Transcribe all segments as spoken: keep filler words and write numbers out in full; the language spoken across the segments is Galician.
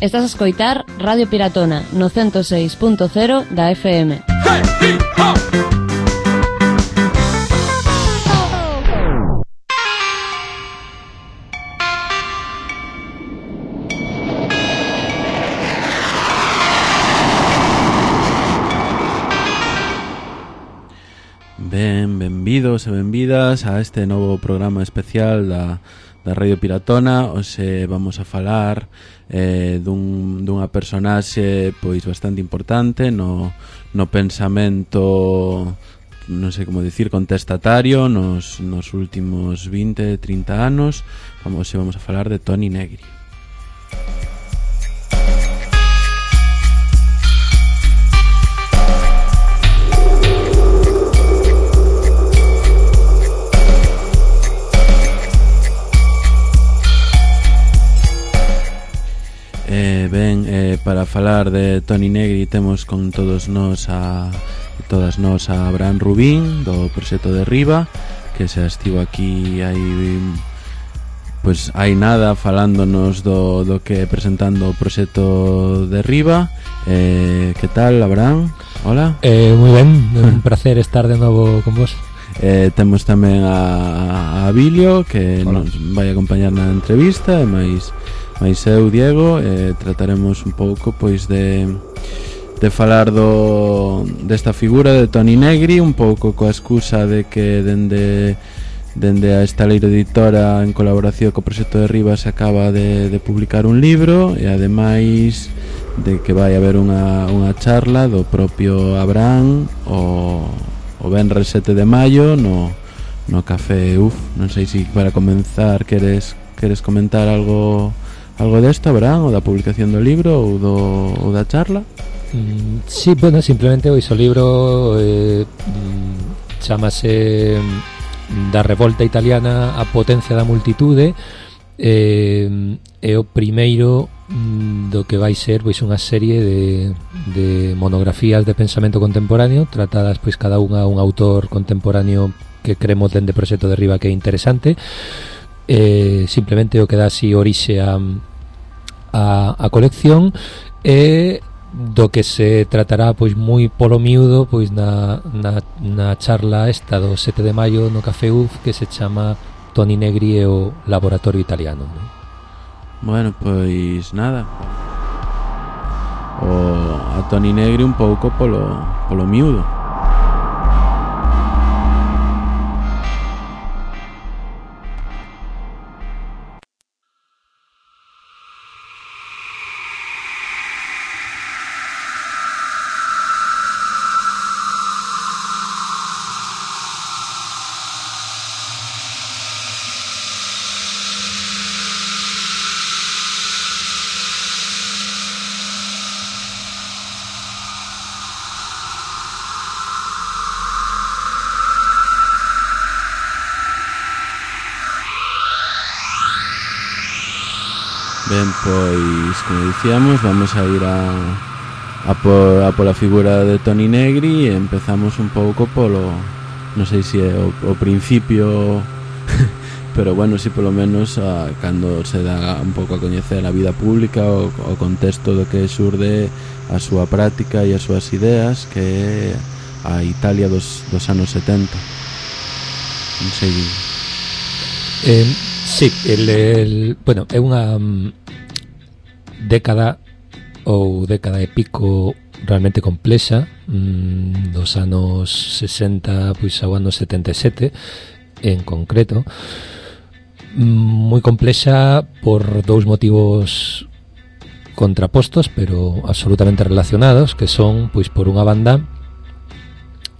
Estás a escoitar Radio Piratona no ciento seis punto cero da F M. Ben, benvidos e benvidas a este novo programa especial da, da Radio Piratona. Hoxe vamos a falar eh, dun, dunha personaxe pois bastante importante no, no pensamento, non sei como dicir, contestatario nos, nos últimos vinte, trinta anos. Vamos, hoxe vamos a falar de Toni Negri. Eh, ben, eh, para falar de Toni Negri temos con todos nós a todas nós a Abraham Rubín do proxecto Derriba, que se estivo aquí hai pois hai nada falándonos do, do que presentando o proxecto Derriba. Eh, que tal, Abraham? Hola. Eh, moi ben, un placer estar de novo con vos. Eh, temos tamén a, a Abilio, que Hola. Nos vai acompañar na entrevista, e máis Mais eu, Diego, eh, trataremos un pouco pois de de falar do desta figura de Toni Negri, un pouco coa excusa de que dende dende a Estaleiro Editora, en colaboración co proxecto Derriba, se acaba de, de publicar un libro, e ademais de que vai haber unha, unha charla do propio Abraham o, o venres sete de maio no, no Café Uf. Non sei se para comenzar queres, queres comentar algo Algo desto, Abraham, ou da publicación do libro ou, do, ou da charla? Mm, sí, bueno, simplemente o iso libro eh, mm, chamase Da revolta italiana a potencia da multitude, eh, é o primeiro mm, do que vai ser pois unha serie de, de monografías de pensamento contemporáneo, tratadas pois cada unha un autor contemporáneo que creemos dende Proxecto Derriba que é interesante. Eh, simplemente o que dá así orixe a, a, a colección, e do que se tratará pois moi polo miúdo pois na, na, na charla esta do sete de maio no Café Uf, que se chama Toni Negri e o Laboratorio Italiano, ¿no? Bueno, pois nada, o, a Toni Negri un pouco polo, polo miúdo. Ben, pois, como dicíamos, vamos a ir a a por, a pola figura de Toni Negri, e empezamos un pouco polo, non sei se é o, o principio, pero bueno, si polo menos a, cando se dá un pouco a coñecer a vida pública, o, o contexto do que xurde a súa práctica e as súas ideas, que é a Italia dos, dos anos setenta. Non sei. Eh, sí, el, el, bueno, é unha um, década ou década e pico realmente complexa, um, dos anos sesenta pois ao ano setenta e sete en concreto, um, moi complexa por dous motivos contrapostos pero absolutamente relacionados, que son, pois, por unha banda,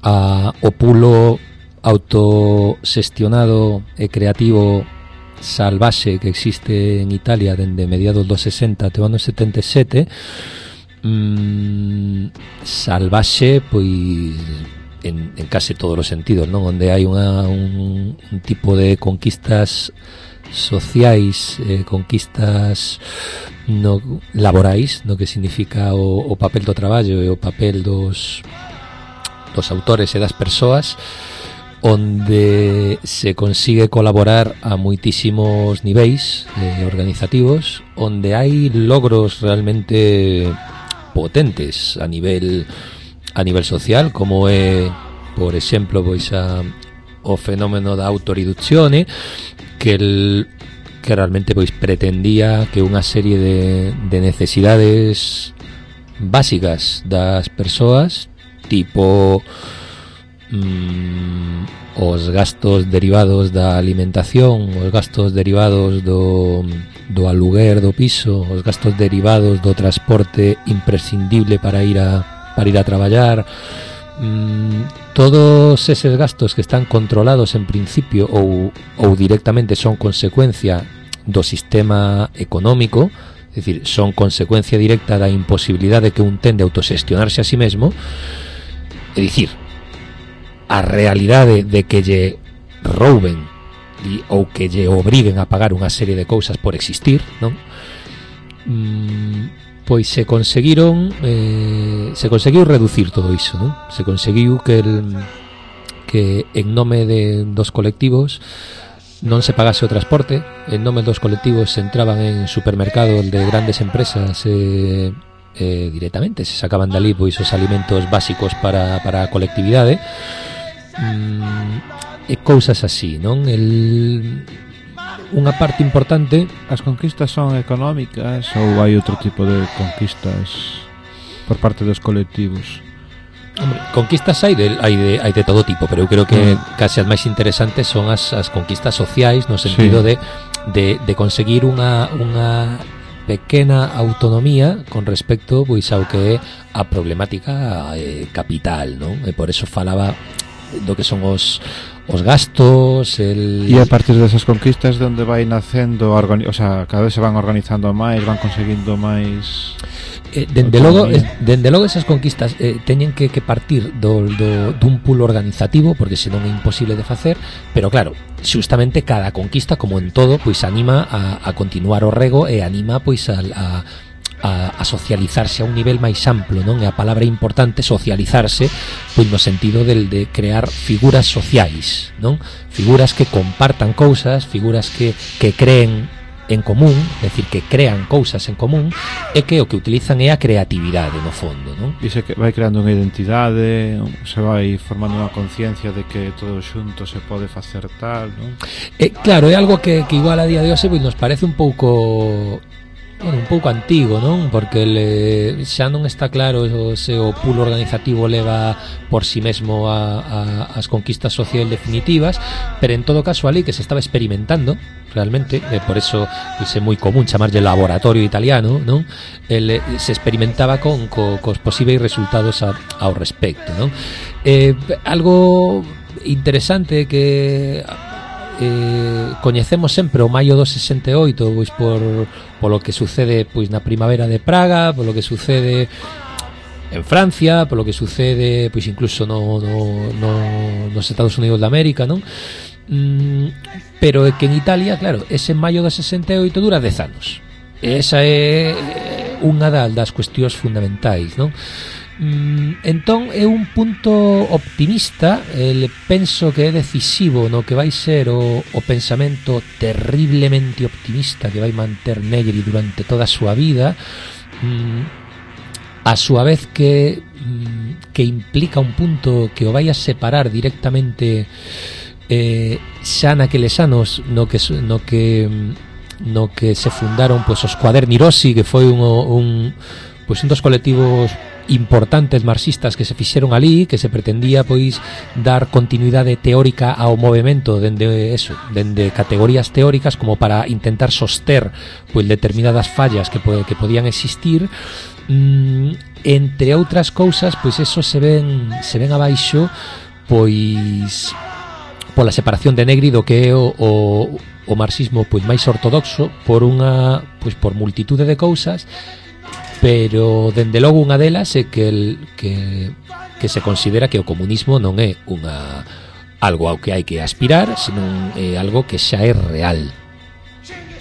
a, o pulo autoxestionado e creativo salvaxe que existe en Italia dende mediados dos sesenta até o ano setenta e sete, mmm, salvaxe pois en, en case todos os sentidos, non? Onde hai unha, un, un tipo de conquistas sociais, eh, conquistas no, laborais, no que significa o, o papel do traballo e o papel dos dos autores e das persoas, onde se consigue colaborar a moitísimos niveis eh, organizativos, onde hai logros realmente potentes a nivel a nivel social, como é, por exemplo, pois a o fenómeno da autoriduzione, que el que realmente pois pretendía que unha serie de, de necesidades básicas das persoas, tipo mmm, os gastos derivados da alimentación, os gastos derivados do, do aluguer do piso, os gastos derivados do transporte imprescindible para ir a, para ir a traballar, mmm, todos eses gastos que están controlados en principio ou, ou directamente son consecuencia do sistema económico, é dicir, son consecuencia directa da imposibilidade que un ten de autoxestionarse a sí mesmo, é dicir, a realidade de que lle rouben e, ou que lle obriguen a pagar unha serie de cousas por existir, non? Mm, pois se conseguiron eh, se conseguiu reducir todo iso, non? Se conseguiu que el, que en nome de dos colectivos non se pagase o transporte, en nome dos colectivos se entraban en supermercados de grandes empresas eh, eh, directamente, se sacaban dali pois os alimentos básicos para, para a colectividade, mm, e cousas así, non? El, unha parte importante. As conquistas son económicas ou hai outro tipo de conquistas por parte dos colectivos? Hombre, conquistas hai de, hai, de, hai de todo tipo, pero eu creo que mm. case as máis interesantes son as, as conquistas sociais, no sentido sí. de, de, de conseguir unha, unha pequena autonomía con respecto pois ao que é a problemática eh, capital, non? E por eso falaba do que son os os gastos, el... E a partir desas conquistas de onde vai nacendo, organi... o sea, cada vez se van organizando máis, van conseguindo máis... Eh, dende logo, eh, dende logo esas conquistas eh, teñen que, que partir do, do, dun pool organizativo, porque senón é imposible de facer, pero claro, xustamente cada conquista, como en todo, pois anima a, a continuar o rego e anima pois a, a A, a socializarse a un nivel máis amplo, non? E a palabra importante, socializarse, pois no sentido del de crear figuras sociais, non? Figuras que compartan cousas, figuras que, que creen en común, é dicir, que crean cousas en común, e que o que utilizan é a creatividade no fondo, non? E se que vai creando unha identidade, se vai formando unha conciencia de que todo xunto se pode facer tal, non? Eh, claro, é algo que, que igual a día de hoxe pois nos parece un pouco... Bueno, un pouco antigo, non? Porque le, xa non está claro se o pool organizativo leva por si sí mesmo a, a, as conquistas sociais definitivas, pero en todo caso ali que se estaba experimentando realmente, e por eso pois, é moi común chamarlle laboratorio italiano, non? El, se experimentaba con co, cos posíveis resultados a, ao respecto, non? Eh, algo interesante que eh, coñecemos sempre o maio do sesenta e oito, pois por polo que sucede pois na primavera de Praga, polo que sucede en Francia, polo que sucede pois incluso no, no, no, nos Estados Unidos de América, non? Mm, pero é que en Italia, claro, ese maio do sesenta e oito dura dez anos. E esa é unha das cuestións fundamentais, non? Mm, entón é un punto optimista, eh, penso que é decisivo no que vai ser o, o pensamento terriblemente optimista que vai manter Negri durante toda a súa vida, mm, a súa vez que mm, que implica un punto que o vai a separar directamente eh, xa naqueles anos no que, no que no que se fundaron pois, os Cuaderni Rossi, que foi un, un, pois, un dos colectivos importantes marxistas que se fixeron ali, que se pretendía pois dar continuidade teórica ao movemento dende eso, dende categorías teóricas como para intentar soster pois determinadas fallas que, que podían existir, mm, entre outras cousas, pois eso se ven se ven abaixo pois pola separación de Negri do que é o, o, o marxismo pois máis ortodoxo por unha pois por multitude de cousas. Pero dende logo unha delas é que, el, que, que se considera que o comunismo non é unha algo ao que hai que aspirar, senón é algo que xa é real.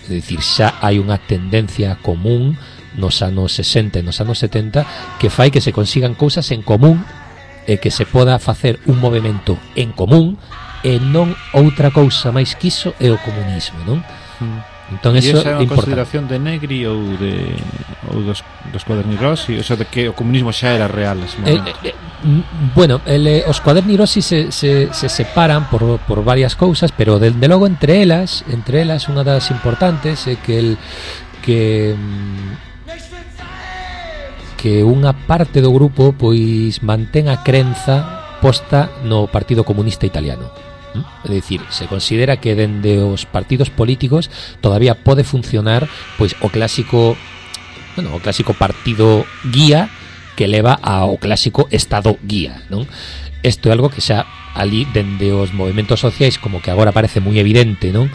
É dicir, xa hai unha tendencia común nos anos sesenta e nos anos setenta que fai que se consigan cousas en común e que se poda facer un movimento en común e non outra cousa máis que iso é o comunismo, non? Mm. Entón, e eso esa é é unha importante. consideración de Negri ou de ou dos, dos Cuaderni Rossi, o sea, de que o comunismo xa era real nese momento. Eh, eh, eh, bueno, el, eh, os Cuaderni Rossi se, se, se separan por, por varias cousas, pero de, de logo entre elas, entre elas unha das importantes é que el que que unha parte do grupo pois mantén a crenza posta no Partido Comunista Italiano. É dicir, se considera que dende os partidos políticos todavía pode funcionar pois o clásico, bueno, o clásico partido guía que leva ao clásico estado guía, non? Isto é algo que xa ali dende os movementos sociais como que agora parece moi evidente, non?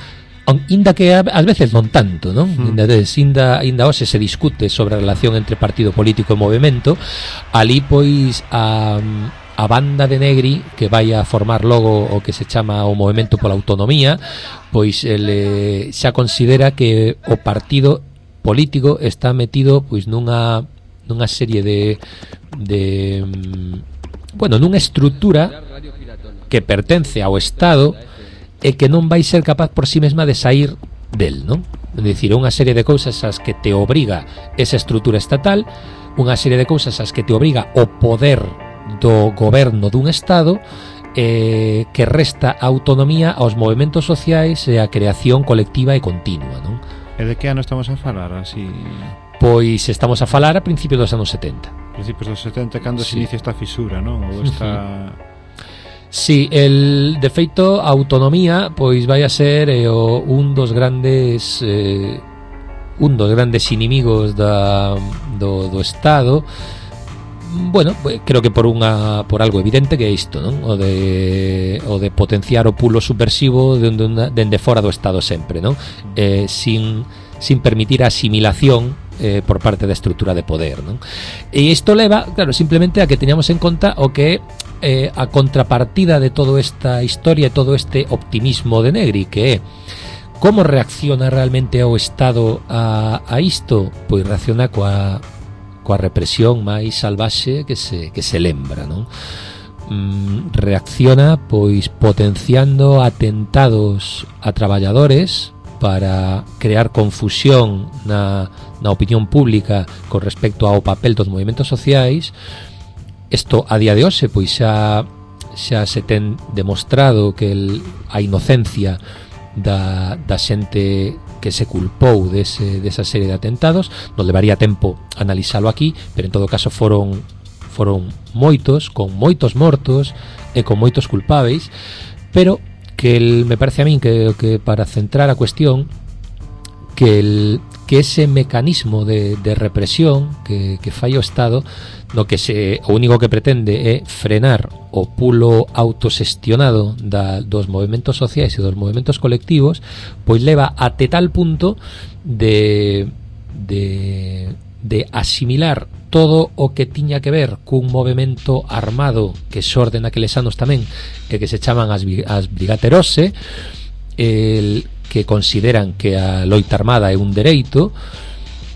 Inda que ás veces non tanto, non? Mm. Inda, inda, inda hoxe se discute sobre a relación entre partido político e movemento. Ali pois a a banda de Negri que vai a formar logo o que se chama o Movemento pola Autonomía, pois ele xa considera que o partido político está metido pois nunha nunha serie de de bueno, nunha estrutura que pertence ao Estado e que non vai ser capaz por si mesma de sair del, non? É dicir, unha serie de cousas as que te obriga esa estrutura estatal, unha serie de cousas as que te obriga o poder do goberno dun Estado, eh, que resta autonomía aos movementos sociais e a creación colectiva e continua, non? E de que ano estamos a falar, así? Pois estamos a falar a principios dos anos setenta. Principios dos setenta, cando sí. se inicia esta fisura, non? Ou esta... Sí, el de feito a autonomía pois vai a ser eh, o, un dos grandes eh, un dos grandes inimigos da, do, do Estado. Bueno, creo que por unha por algo evidente que é isto, non? O de o de potenciar o pulo subversivo dende dende fora do Estado sempre, non? Eh, sin sin permitir a asimilación eh, por parte da estrutura de poder, non? E isto leva, claro, simplemente a que teñamos en conta o que eh, a contrapartida de toda esta historia e todo este optimismo de Negri, que é como reacciona realmente o Estado a, a isto? Pois reacciona coa coa represión máis salvaxe que se, que se lembra, non? Mm, reacciona pois potenciando atentados a traballadores para crear confusión na, na opinión pública con respecto ao papel dos movementos sociais. Isto a día de hoxe pois xa xa se ten demostrado que el, a inocencia da, da xente que se culpou dese, desa serie de atentados. Non levaría tempo analizalo aquí, pero en todo caso foron foron moitos, con moitos mortos e con moitos culpáveis, pero que el, me parece a min que, que para centrar a cuestión, que el, que ese mecanismo de, de represión que, que fai o Estado, no que se, o único que pretende é frenar o pulo autosestionado da, dos movementos sociais e dos movementos colectivos, pois leva até tal punto de, de, de asimilar todo o que tiña que ver cun movemento armado que xorde naqueles anos tamén, e que se chaman as, as Brigate Rosse, el, que consideran que a loita armada é un dereito,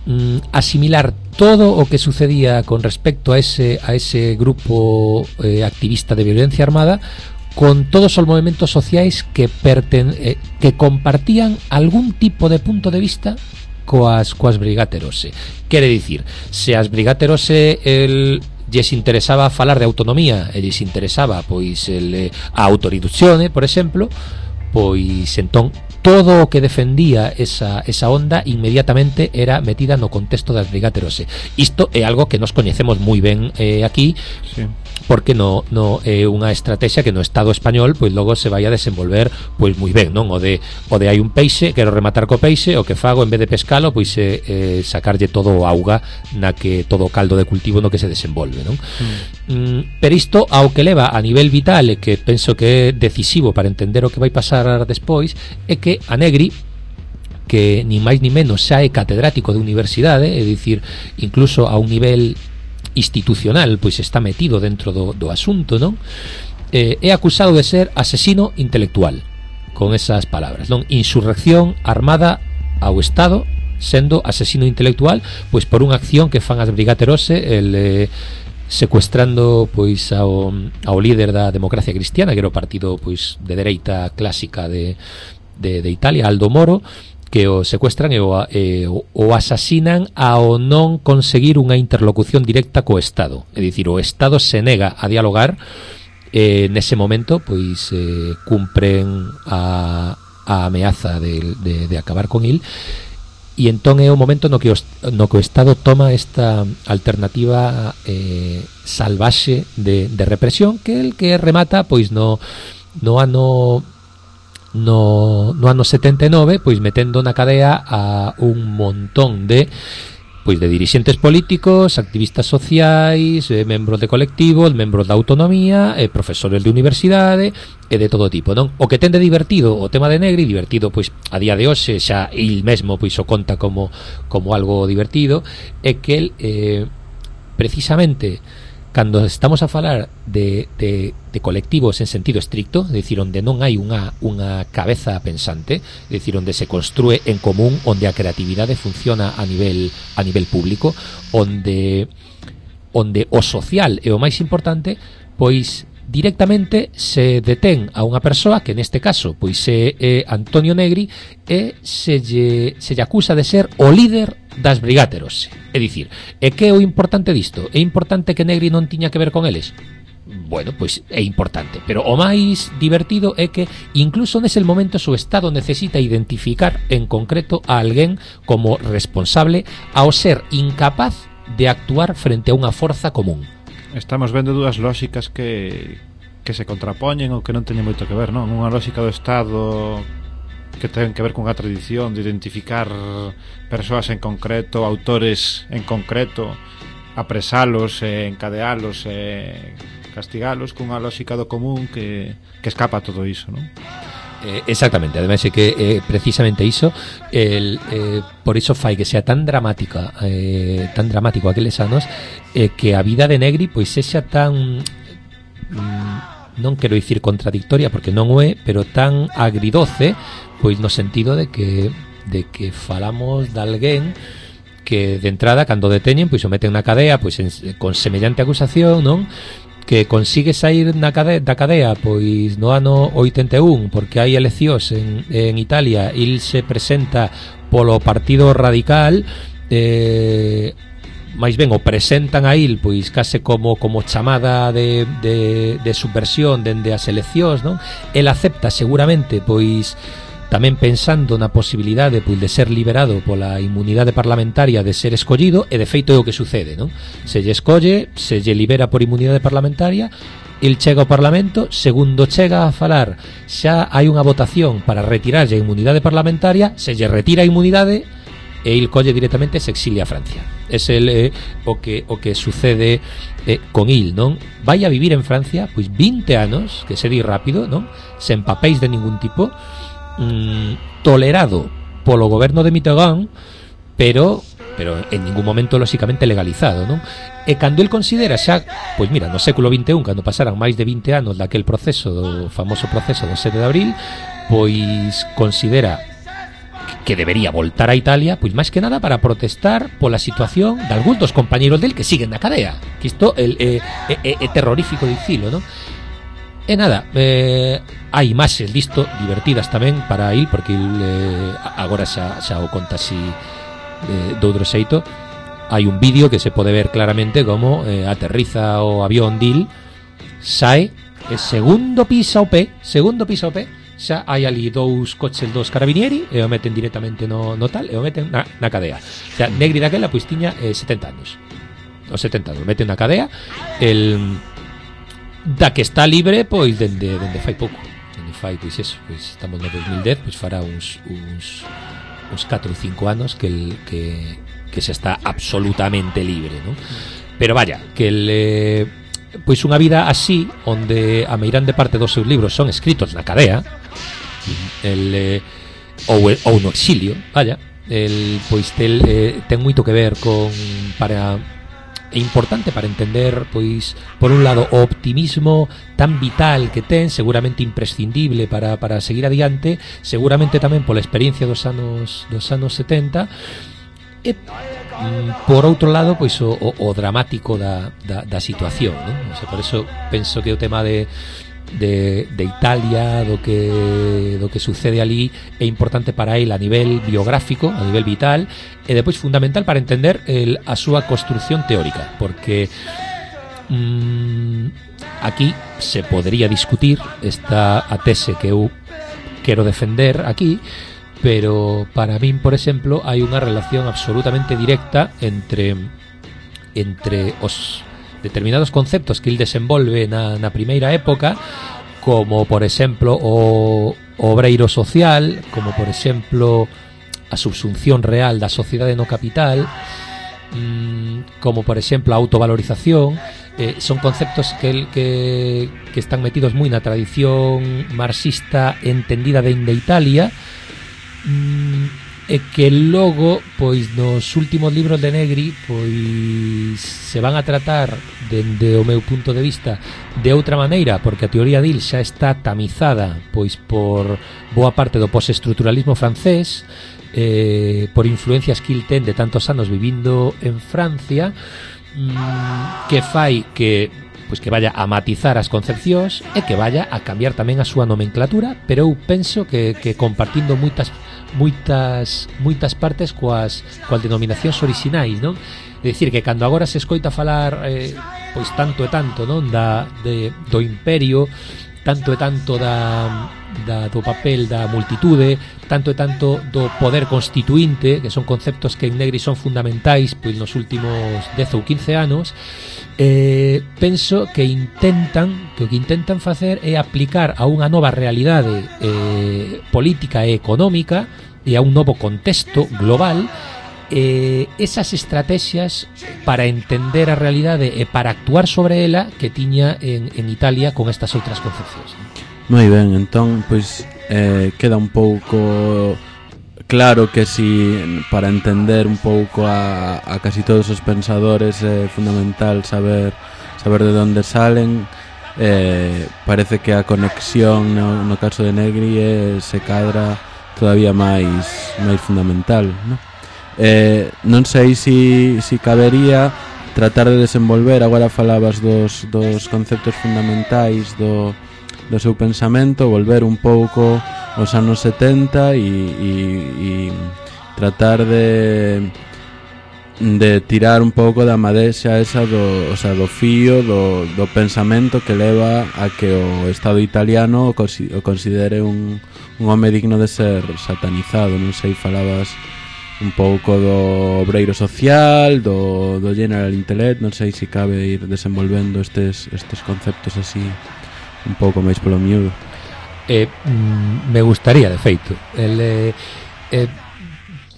mm, asimilar todo o que sucedía con respecto a ese, a ese grupo eh, activista de violencia armada con todos os movementos sociais que, perten, eh, que compartían algún tipo de punto de vista coas, coas Brigate Rosse. Quere dicir, se as Brigate Rosse el, lles interesaba falar de autonomía e lles interesaba pois el, a autoriduzione, por exemplo, pois entón todo o que defendía esa, esa onda inmediatamente era metida no contexto das Brigate Rosse. Isto é algo que nos coñecemos moi ben eh, aquí, sí, porque no, no é unha estrategia que no Estado español pois logo se vai a desenvolver pois moi ben, non? O de, o de hai un peixe, quero rematar co peixe, o que fago en vez de pescalo pois é eh, sacarlle todo o auga na que todo o caldo de cultivo no que se desenvolve, non? Mm. Mm, pero isto ao que leva a nivel vital e que penso que é decisivo para entender o que vai pasar despois é que a Negri, que ni máis ni menos xa é catedrático de universidade, é dicir, incluso a un nivel institucional, pois está metido dentro do, do asunto, non? Eh, é acusado de ser asesino intelectual, con esas palabras, non? Insurrección armada ao Estado, sendo asesino intelectual, pois por unha acción que fan as Brigate Rosse, el, eh, secuestrando pois ao, ao líder da democracia cristiana, que era o partido pois de dereita clásica de, de, de Italia, Aldo Moro, que o secuestran e o, e o asasinan ao non conseguir unha interlocución directa co Estado. É dicir, o Estado se nega a dialogar, e nese momento pois eh, cumpren a, a ameaza de, de, de acabar con il. E entón é o momento no que o, no que o Estado toma esta alternativa eh, salvaxe de, de represión, que el que remata pois no, no ano no, no ano setenta e nove, pois metendo na cadea a un montón de pois de dirixentes políticos, activistas sociais, eh, membros de colectivos, membros da autonomía, eh, profesores de universidade e de todo tipo, non? O que ten de divertido o tema de Negri, divertido pois a día de hoxe xa il mesmo pois o conta como como algo divertido, é que el eh, precisamente cando estamos a falar de, de, de colectivos en sentido estricto, é dicir, onde non hai unha, unha cabeza pensante, é dicir, onde se construe en común, onde a creatividade funciona a nivel a nivel público, onde onde o social é o máis importante, pois directamente se detén a unha persoa que neste caso pois é, é Antonio Negri, e se lle, se lle acusa de ser o líder das brigáteros. É dicir, e que é o importante disto? É importante que Negri non tiña que ver con eles? Bueno, pois é importante, pero o máis divertido é que incluso nese momento o Estado necesita identificar en concreto a alguén como responsable ao ser incapaz de actuar frente a unha forza común. Estamos vendo dúas lóxicas que que se contrapoñen ou que non teñen moito que ver, non? Unha lóxica do Estado que ten que ver con a tradición de identificar persoas en concreto, autores en concreto, apresalos, e encadealos e castigalos, cunha lóxica do común que, que escapa a todo iso, non? Eh, exactamente, ademais é que eh, precisamente iso el, eh, por iso fai que sea tan dramática eh, tan dramático aqueles anos, eh, que a vida de Negri pois sexa tan mm, non quero dicir contradictoria porque non o é, pero tan agridoce, pois no sentido de que de que falamos de alguén que de entrada cando deteñen pois o meten na cadea pois en, con semellante acusación, non? Que consigue sair na cadea, da cadea pois no ano oitenta e un porque hai eleccións en, en Italia, il se presenta polo Partido Radical, eh, máis ben o presentan a il pois case como como chamada de, de, de subversión dende as eleccións, non? El acepta seguramente pois tamén pensando na posibilidade pois de ser liberado pola inmunidade parlamentaria, de ser escollido, e de feito é o que sucede, non? Se lle escolle, se lle libera por inmunidade parlamentaria, el chega ao Parlamento, segundo chega a falar xa hai unha votación para retirarlle a inmunidade parlamentaria, se lle retira a inmunidade e il colle directamente e se exilia a Francia. Ese é eh, o que o que sucede eh, con il, non? Vai a vivir en Francia pois vinte anos, que se di rápido, non? Sen papéis de ningún tipo, mm, tolerado polo goberno de Mitterrand, pero pero en ningún momento lóxicamente legalizado, non? E cando el considera xa, pois mira, no século vinte e un, cando pasaran máis de vinte anos daquel proceso, do famoso proceso do sete de abril, pois considera que debería voltar a Italia, pois máis que nada para protestar pola situación de algúns dos compañeros del que siguen na cadea, que isto é, é, é, é terrorífico dicilo, non? E nada, eh, hai imaxes disto divertidas tamén para il, porque il eh, agora xa, xa o conta así eh, de outro xeito. Hai un vídeo que se pode ver claramente como eh, aterriza o avión dil, sae, e segundo pisa o pé, segundo pisa o pé, xa hai ali dous coches dos carabinieri e o meten directamente no, no tal, e o meten na, na cadea. O sea, Negri daquela pois tiña eh, setenta anos, os setenta anos, meten na cadea, el da que está libre pois dende, dende fai pouco, dende fai pois eso, pois estamos no dos mil dez, pois fará uns uns uns catro ou cinco anos que el, que que se está absolutamente libre, ¿no? Pero vaya, que el eh, pois unha vida así, onde a meirande parte dos seus libros son escritos na cadea, el eh, ou ou no exilio, vaya, el pois tel, eh, ten moito que ver con para é importante para entender, pois, por un lado, o optimismo tan vital que ten, seguramente imprescindible para, para seguir adiante, seguramente tamén pola experiencia dos anos dos anos setenta, e por outro lado, pois o, o, o dramático da, da, da situación, non? O sea, por eso penso que o tema de De, de Italia, do que do que sucede ali é importante para ele a nivel biográfico, a nivel vital, e depois fundamental para entender el, a súa construción teórica, porque mmm, aquí se podría discutir esta a tese que eu quero defender aquí, pero para min, por exemplo, hai unha relación absolutamente directa entre entre os determinados conceptos que el desenvolve na, na primeira época, como por exemplo o, o obreiro social, como por exemplo a subsunción real da sociedade no capital, mmm, como por exemplo a autovalorización. Eh, son conceptos que, el, que, que están metidos moi na tradición marxista entendida dende Italia, mmm, e que logo, pois nos últimos libros de Negri, pois se van a tratar dende o meu punto de vista de outra maneira, porque a teoría dil xa está tamizada pois por boa parte do postestructuralismo francés, eh, por influencias que il ten de tantos anos vivindo en Francia, mmm, que fai que pois que vaya a matizar as concepcións e que vaya a cambiar tamén a súa nomenclatura, pero eu penso que, que compartindo moitas moitas moitas partes coas coas denominacións orixinais, non? É dicir, que cando agora se escoita falar eh, pois tanto e tanto, non, da de, do imperio, tanto e tanto da, da do papel da multitude, tanto e tanto do poder constituinte, que son conceptos que en Negri son fundamentais pois nos últimos dez ou quince anos, eh, penso que intentan que o que intentan facer é aplicar a unha nova realidade eh, política e económica e a un novo contexto global eh, esas estrategias para entender a realidade e para actuar sobre ela que tiña en, en Italia con estas outras concepcións. Moi ben, entón, pois eh, queda un pouco claro que si para entender un pouco a, a casi todos os pensadores é fundamental saber saber de onde salen. Eh, parece que a conexión no, no caso de Negri eh, se cadra todavía máis máis fundamental, non? Eh, non sei si, si cabería tratar de desenvolver, agora falabas dos, dos conceptos fundamentais do, do seu pensamento, volver un pouco aos anos setenta e, e, e tratar de de tirar un pouco da madexa esa do, o sea, do fío do, do pensamento que leva a que o Estado italiano o, consi, o considere un, un home digno de ser satanizado. Non sei, falabas un pouco do obreiro social, do, do general intellect, non sei se cabe ir desenvolvendo estes, estes conceptos así un pouco máis polo miúdo. Eh, mm, me gustaría, de feito. El, eh, eh,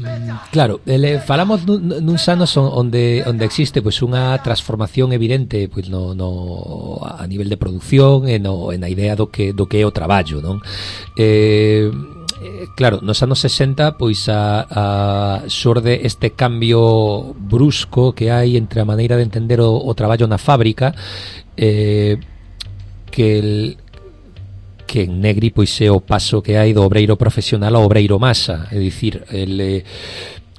mm, claro, el, falamos nun, nuns anos onde onde existe pois unha transformación evidente pois no, no a nivel de producción e no en a idea do que do que é o traballo, non? Eh, claro, nos anos sesenta pois a, a xorde este cambio brusco que hai entre a maneira de entender o, o traballo na fábrica, eh, que el que en Negri pois é o paso que hai do obreiro profesional ao obreiro masa, é dicir, el, eh,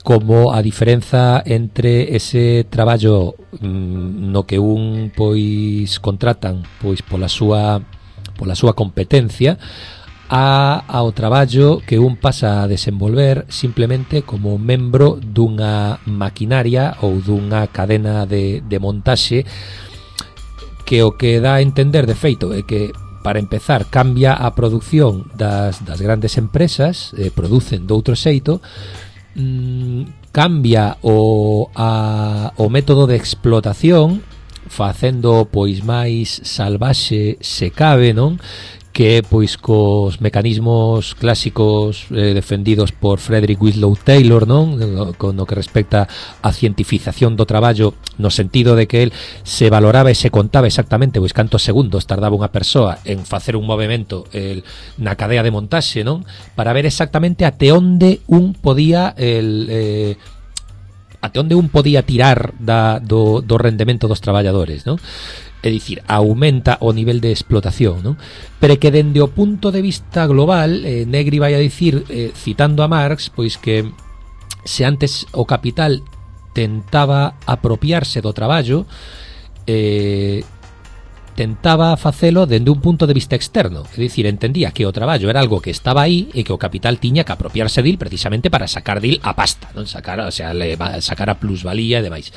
como a diferenza entre ese traballo mm, no que un pois contratan pois pola súa pola súa competencia a ao traballo que un pasa a desenvolver simplemente como membro dunha maquinaria ou dunha cadena de, de montaxe, que o que dá a entender de feito é que, para empezar, cambia a produción das, das grandes empresas, eh, producen de outro xeito, mmm, cambia o, a, o método de explotación, facendo pois máis salvaxe se cabe, non? Que pois cos mecanismos clásicos eh, defendidos por Frederick Winslow Taylor, non? No, no que respecta a cientificación do traballo, no sentido de que el se valoraba e se contaba exactamente pois cantos segundos tardaba unha persoa en facer un movimento el, na cadea de montaxe, non? Para ver exactamente até onde un podía el, eh, até onde un podía tirar da, do, do rendemento dos traballadores, non? É dicir, aumenta o nivel de explotación, non? Pero que dende o punto de vista global, eh, Negri vai a dicir, eh, citando a Marx, pois que se antes o capital tentaba apropiarse do traballo, eh, tentaba facelo dende un punto de vista externo, é dicir, entendía que o traballo era algo que estaba aí e que o capital tiña que apropiarse dil precisamente para sacar dil a pasta, non sacar, o sea, le, sacar a plusvalía e demais.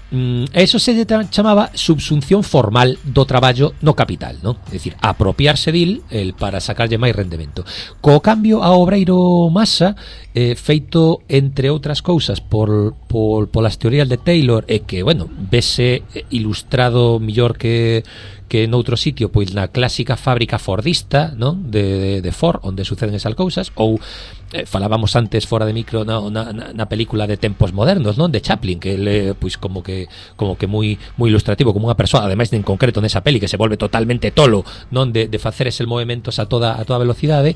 Mm, eso se chamaba subsunción formal do traballo no capital, non? É dicir, apropiarse dil el para sacarlle máis rendemento. Co cambio a obreiro masa, eh, feito entre outras cousas por, por polas teorías de Taylor, e que, bueno, vese ilustrado millor que que noutro sitio, pois na clásica fábrica fordista, non? De, de, de Ford, onde suceden esas cousas, ou eh, falábamos antes fora de micro na, na, na película de Tempos Modernos, non? De Chaplin, que ele, pois como que como que moi moi ilustrativo, como unha persoa, ademais en concreto nesa peli que se volve totalmente tolo, non? De, de facer eses movementos a toda a toda velocidade,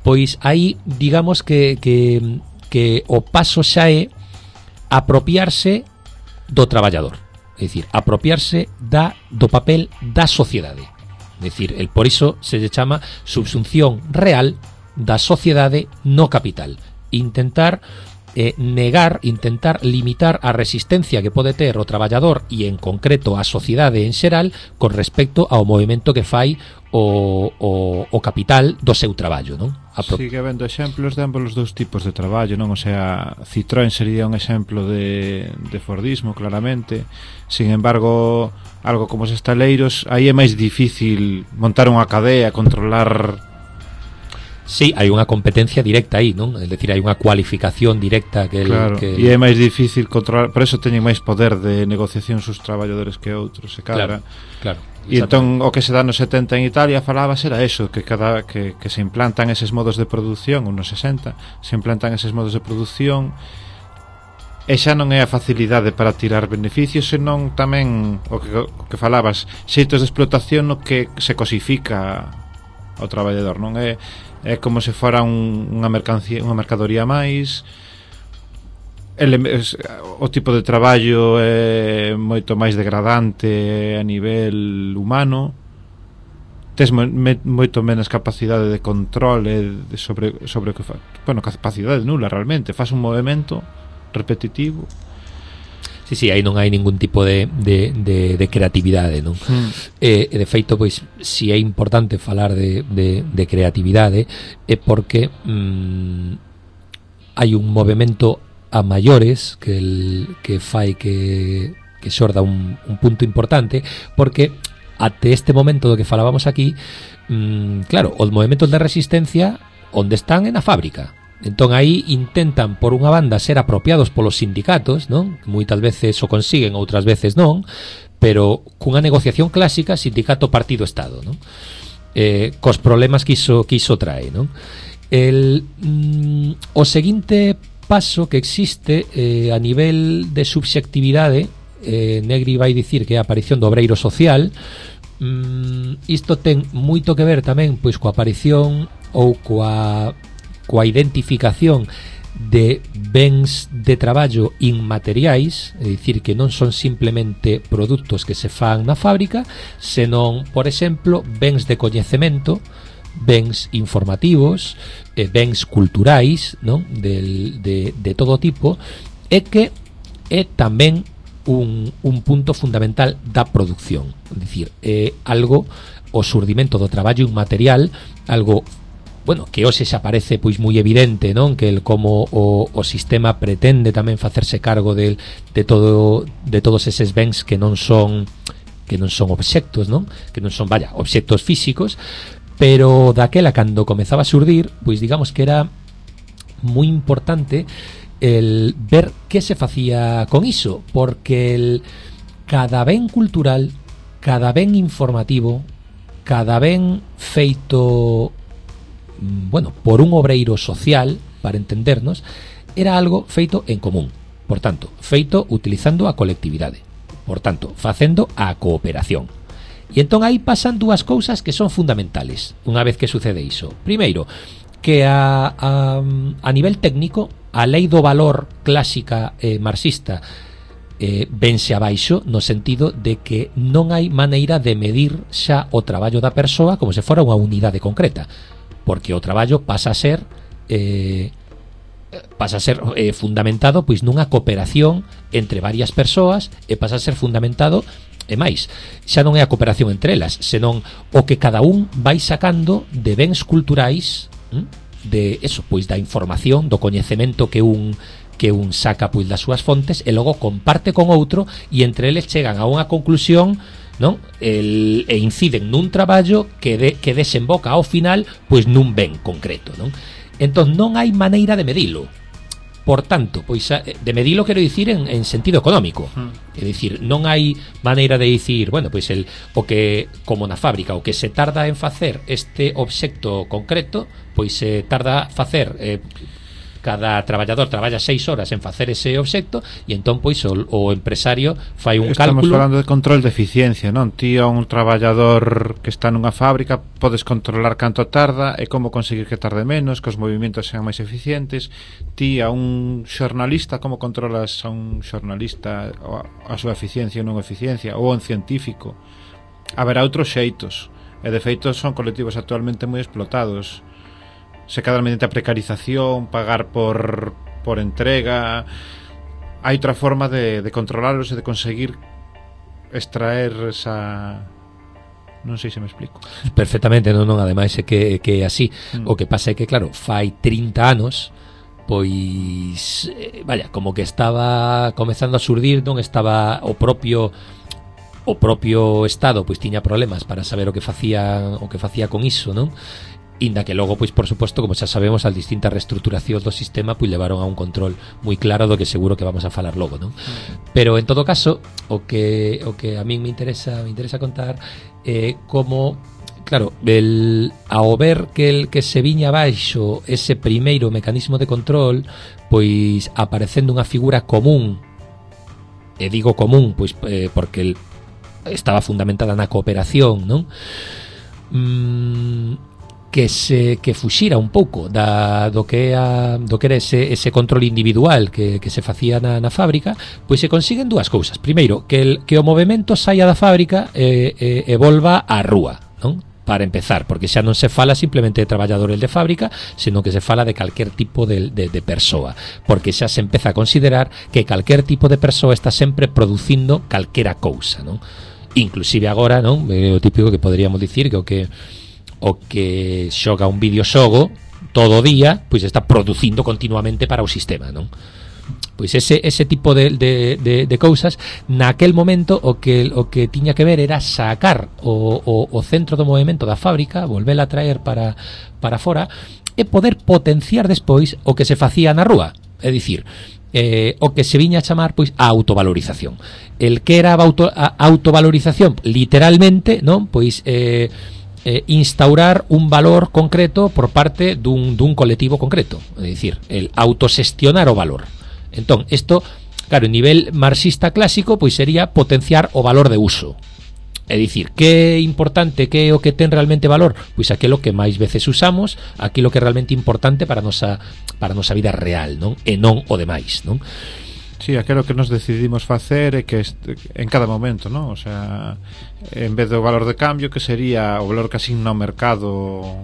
pois aí digamos que que que o paso xa é apropiarse do traballador. É dicir, apropiarse da, do papel da sociedade. É dicir, el, por iso se lle chama subsunción real da sociedade no capital. Intentar eh, negar, intentar limitar a resistencia que pode ter o traballador e en concreto a sociedade en xeral con respecto ao movimento que fai o, o, o capital do seu traballo, non? Pro... Sigue habendo exemplos de ambos os dous tipos de traballo, non? O sea, Citroën sería un exemplo de, de Fordismo, claramente. Sin embargo, algo como os estaleiros, aí é máis difícil montar unha cadea, controlar... Sí, hai unha competencia directa aí, non? É dicir, hai unha cualificación directa que... El, claro, que... e é máis difícil controlar, por eso teñen máis poder de negociación sus traballadores que outros, e cadra. Claro, claro. E entón o que se dá nos setenta en Italia falaba era eso, que cada que, que se implantan eses modos de produción, ou nos sesenta, se implantan eses modos de produción, e xa non é a facilidade para tirar beneficios, senón tamén o que, o que falabas, xeitos de explotación no que se cosifica ao traballador, non é é como se fora un, unha mercancía, unha mercadoría máis. Ele, es, o tipo de traballo é moito máis degradante a nivel humano. Tes mo, me, moito menos capacidade de control de sobre, sobre o que fa. Bueno, capacidade nula realmente. Faz un movimento repetitivo. Sí, sí, aí non hai ningún tipo de, de, de, de creatividade, non? Mm. E, de feito, pois, si é importante falar de, de, de creatividade é porque mm, hai un movimento a maiores que, el, que fai que, que xorda un, un punto importante, porque até este momento do que falábamos aquí, mm, claro, os movimentos de resistencia onde están é na fábrica. Entón aí intentan por unha banda ser apropiados polos sindicatos, non? Moitas veces o consiguen, outras veces non, pero cunha negociación clásica sindicato partido estado, non? Eh, cos problemas que iso, que iso trae, non? El, mm, o seguinte paso que existe eh, a nivel de subxectividade, eh, Negri vai dicir que é a aparición do obreiro social. Mm, isto ten moito que ver tamén pois coa aparición ou coa coa identificación de bens de traballo inmateriais, é dicir, que non son simplemente produtos que se fan na fábrica, senón, por exemplo, bens de coñecemento, bens informativos, eh, bens culturais, non? Del, de, de todo tipo, e que é tamén un, un punto fundamental da produción, é dicir, é algo, o surdimento do traballo inmaterial, algo bueno, que hoxe xa parece pois moi evidente, non? Que el como o, o sistema pretende tamén facerse cargo de, de todo de todos eses bens que non son que non son obxectos, non? Que non son, vaya, obxectos físicos, pero daquela cando comezaba a xurdir, pois digamos que era moi importante el ver que se facía con iso, porque el cada ben cultural, cada ben informativo, cada ben feito bueno, por un obreiro social, para entendernos, era algo feito en común. Por tanto, feito utilizando a colectividade. Por tanto, facendo a cooperación. E entón aí pasan dúas cousas que son fundamentales unha vez que sucede iso. Primeiro, que a, a, a nivel técnico, a lei do valor clásica eh, marxista eh, vense abaixo no sentido de que non hai maneira de medir xa o traballo da persoa como se fora unha unidade concreta, porque o traballo pasa a ser eh, pasa a ser eh, fundamentado pois nunha cooperación entre varias persoas e pasa a ser fundamentado e máis, xa non é a cooperación entre elas, senón o que cada un vai sacando de bens culturais, hm? de eso, pois da información, do coñecemento que un que un saca pois das súas fontes e logo comparte con outro e entre eles chegan a unha conclusión, non? El, e inciden nun traballo que de, que desemboca ao final pois nun ben concreto, non? Entón non hai maneira de medilo. Por tanto, pois de medilo quero dicir en, en sentido económico. Mm. É dicir, non hai maneira de dicir, bueno, pois el o que como na fábrica, o que se tarda en facer este obxecto concreto, pois se tarda facer eh, cada traballador traballa seis horas en facer ese obxecto e entón pois o, o empresario fai un Estamos cálculo. Estamos falando de control de eficiencia, non? Ti a un traballador que está nunha fábrica podes controlar canto tarda e como conseguir que tarde menos, que os movimentos sean máis eficientes. Ti a un xornalista, como controlas a un xornalista a súa eficiencia ou non eficiencia, ou a un científico? Haberá outros xeitos e de feito son colectivos actualmente moi explotados. Se cadra mediante a precarización, pagar por, por entrega. Hai outra forma de, de controlarlos e de conseguir extraer esa... Non sei se me explico. Perfectamente, non, non, ademais é que, que é así. Mm. O que pasa é que, claro, fai trinta anos, pois, eh, vaya, como que estaba comezando a surdir, non estaba o propio... o propio Estado pois tiña problemas para saber o que facía o que facía con iso, non? Inda que logo, pois por suposto, como xa sabemos, as distintas reestruturacións do sistema pois levaron a un control moi claro do que seguro que vamos a falar logo, non? Mm. Pero en todo caso, o que o que a min me interesa me interesa contar é eh, como, claro, el ao ver que el que se viña abaixo ese primeiro mecanismo de control, pois aparecendo unha figura común, e digo común, pois eh, porque el estaba fundamentada na cooperación, non? Mm, que se que fuxira un pouco da do que a, do que era ese ese control individual que, que se facía na, na fábrica, pois se consiguen dúas cousas. Primeiro, que el que o movemento saia da fábrica e, e, e volva á rúa, non? Para empezar, porque xa non se fala simplemente de traballadores de fábrica, senón que se fala de calquer tipo de, de, de persoa, porque xa se empeza a considerar que calquer tipo de persoa está sempre producindo calquera cousa, non? Inclusive agora, non? É o típico que poderíamos dicir que o que o que xoga un videoxogo todo o día, pois está producindo continuamente para o sistema, non? Pois ese, ese tipo de, de, de, de cousas, naquel momento o que o que tiña que ver era sacar o, o, o centro do movimento da fábrica, volvela a traer para, para fora e poder potenciar despois o que se facía na rúa, é dicir, eh, o que se viña a chamar pois a autovalorización. El que era a, auto, a autovalorización, literalmente, non? Pois eh, eh, instaurar un valor concreto por parte dun, dun colectivo concreto, é dicir, el autosestionar o valor. Entón, isto, claro, en nivel marxista clásico, pois sería potenciar o valor de uso. É dicir, que é importante, que é o que ten realmente valor? Pois aquilo que máis veces usamos, aquilo que é realmente importante para a nosa, para a nosa vida real, non? E non o demais, non? Sí, aquilo que nos decidimos facer é que este, en cada momento, non? O sea, en vez do valor de cambio, que sería o valor que asigna o mercado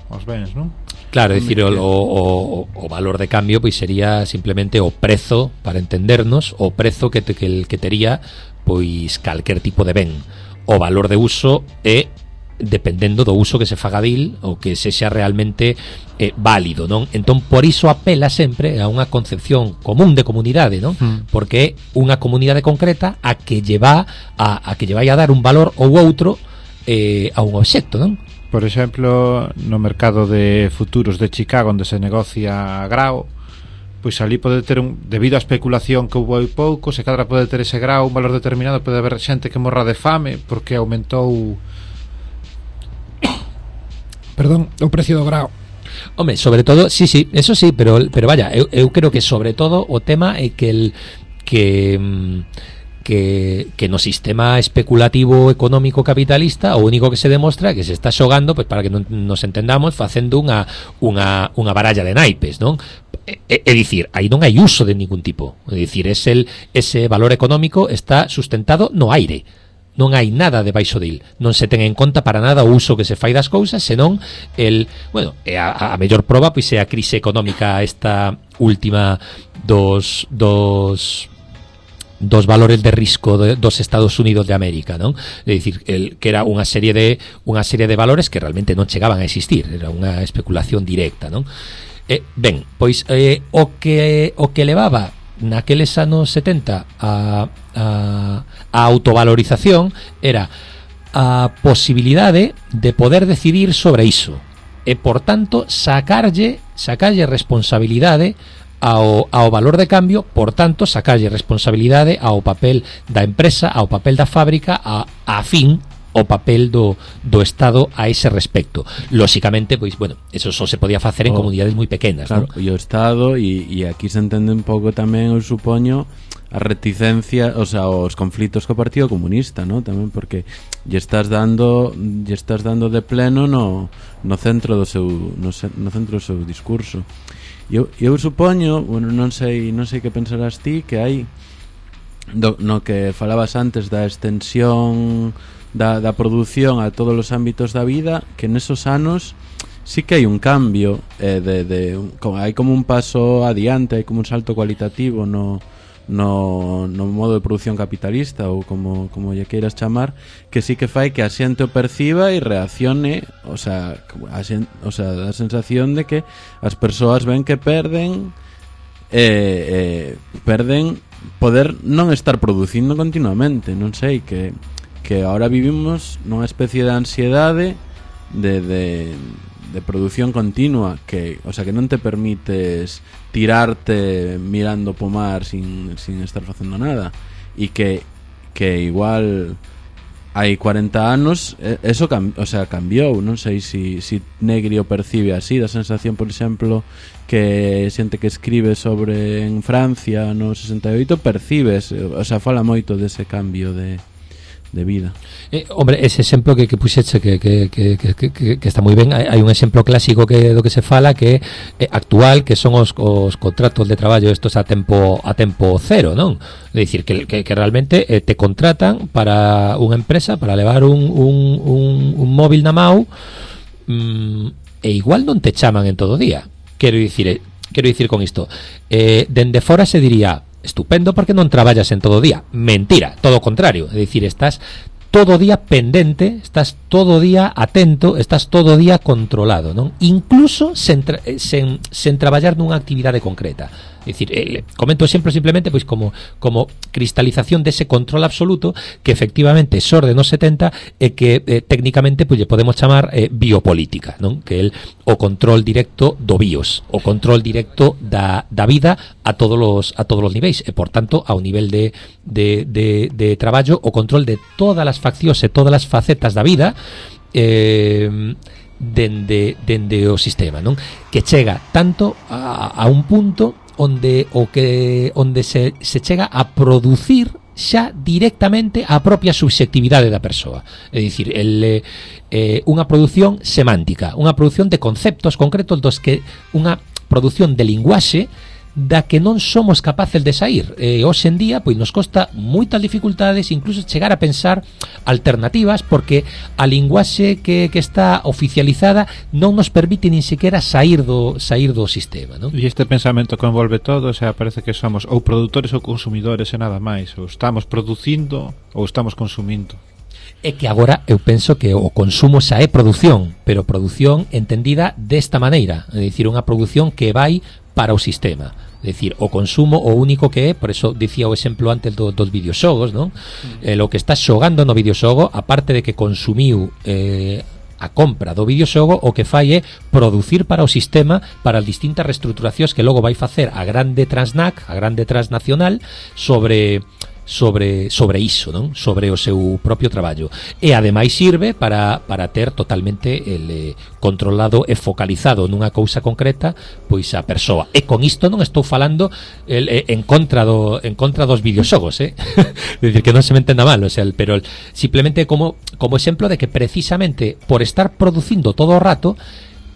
os bens, non? Claro, é dicir, o, o, o valor de cambio pois sería simplemente o prezo, para entendernos, o prezo que, te, que, que tería pois calquer tipo de ben. O valor de uso é dependendo do uso que se faga dil ou que sexa realmente eh, válido, non? Entón, por iso apela sempre a unha concepción común de comunidade, non? Mm. Porque é unha comunidade concreta a que lleva a, a que lle vai a dar un valor ou outro eh, a un obxecto, non? Por exemplo, no mercado de futuros de Chicago, onde se negocia grao, pois ali pode ter un, debido á especulación que houve hai pouco, se cadra pode ter ese grao un valor determinado, pode haber xente que morra de fame porque aumentou perdón, o precio do grao. Home, sobre todo, sí, sí, eso sí, pero pero vaya, eu, eu creo que sobre todo o tema é que el que que, que no sistema especulativo económico capitalista o único que se demostra é que se está xogando, pois para que non nos entendamos, facendo unha unha unha baralla de naipes, non? É, é dicir, aí non hai uso de ningún tipo. É dicir, es el, ese valor económico está sustentado no aire. non hai nada debaixo dil, non se ten en conta para nada o uso que se fai das cousas, senón el, bueno, a, a mellor proba pois é a crise económica esta última dos dos dos valores de risco de, dos Estados Unidos de América, non? É dicir, el, que era unha serie de unha serie de valores que realmente non chegaban a existir, era unha especulación directa, non? Eh, ben, pois eh, o que o que levaba naqueles anos setenta a, a, a autovalorización era a posibilidade de poder decidir sobre iso e, por tanto, sacarlle sacarlle responsabilidade ao, ao valor de cambio, por tanto, sacarlle responsabilidade ao papel da empresa, ao papel da fábrica, a, a fin o papel do, do Estado a ese respecto. Lóxicamente, pois, bueno, eso só se podía facer en oh, comunidades moi pequenas, claro, ¿no? E o Estado, e, e aquí se entende un pouco tamén, eu supoño, a reticencia, o sea, os conflitos co Partido Comunista, ¿no? Tamén porque lle estás dando lle estás dando de pleno no, no centro do seu no, no centro do seu discurso. Eu, eu supoño, bueno, non sei, non sei que pensarás ti, que hai do, no que falabas antes da extensión Da, da produción a todos os ámbitos da vida, que nesos anos sí que hai un cambio, eh, de, de, como, hai como un paso adiante, hai como un salto cualitativo no, no, no modo de produción capitalista, ou como, como lle queiras chamar, que sí que fai que a xente o perciba e reaccione, o sea, a xente, o sea, da sensación de que as persoas ven que perden eh, eh, perden poder non estar producindo continuamente, non sei, que que ahora vivimos nunha especie de ansiedade de, de, de produción continua, que, o sea, que non te permites tirarte mirando po mar sin, sin estar facendo nada, e que, que igual hai cuarenta anos eso cam, o sea, cambiou. Non sei se si, si Negri o percibe así, da sensación, por exemplo, que xente que escribe sobre en Francia no sesenta e oito percibes, o sea, fala moito dese cambio de de vida. Eh, hombre, ese exemplo que, que puxeche que, que, que, que, que, que está moi ben, hai, hai un exemplo clásico que do que se fala que é actual, que son os, os contratos de traballo estos a tempo a tempo cero, non? É dicir, que, que, que realmente eh, te contratan para unha empresa para levar un, un, un, un móvil na mau, mm, e igual non te chaman en todo o día. Quero dicir, quero dicir con isto, eh, dende fora se diría estupendo porque non traballas en todo o día. Mentira, todo o contrario. É dicir, estás todo o día pendente, estás todo o día atento, estás todo o día controlado, non? Incluso sen, tra sen, sen traballar nunha actividade concreta. É dicir, eh, comento o exemplo simplemente pois como como cristalización dese control absoluto que efectivamente xorde nos setenta e que eh, técnicamente pois lle podemos chamar eh, biopolítica, non? Que el o control directo do bios, o control directo da, da vida a todos os a todos os niveis e por tanto ao nivel de de de de traballo o control de todas as faccións e todas as facetas da vida eh dende dende o sistema, non? Que chega tanto a, a un punto onde o que onde se, se chega a producir xa directamente a propia subxectividade da persoa. É dicir, el, eh, unha produción semántica, unha produción de conceptos concretos dos que unha produción de linguaxe da que non somos capaces de sair. Eh, hoxe en día, pois nos costa moitas dificultades, incluso chegar a pensar alternativas, porque a linguaxe que, que está oficializada non nos permite nin sequera sair do sair do sistema, non? E este pensamento que envolve todo, o sea, parece que somos ou produtores ou consumidores e nada máis, ou estamos producindo ou estamos consumindo. É que agora eu penso que o consumo xa é produción, pero produción entendida desta maneira, é dicir, unha produción que vai para o sistema. É dicir, o consumo o único que é, por eso dicía o exemplo antes do, dos videoxogos, non? Mm. Eh, lo que estás xogando no videoxogo, aparte de que consumiu eh, a compra do videoxogo, o que fai é producir para o sistema, para as distintas reestruturacións que logo vai facer a grande transnac, a grande transnacional sobre sobre sobre iso, non? Sobre o seu propio traballo. E ademais sirve para para ter totalmente el eh, controlado e focalizado nunha cousa concreta, pois a persoa. E con isto non estou falando el, eh, en contra do en contra dos videoxogos, eh? Decir que non se me entenda mal, o sea, pero el, simplemente como como exemplo de que precisamente por estar producindo todo o rato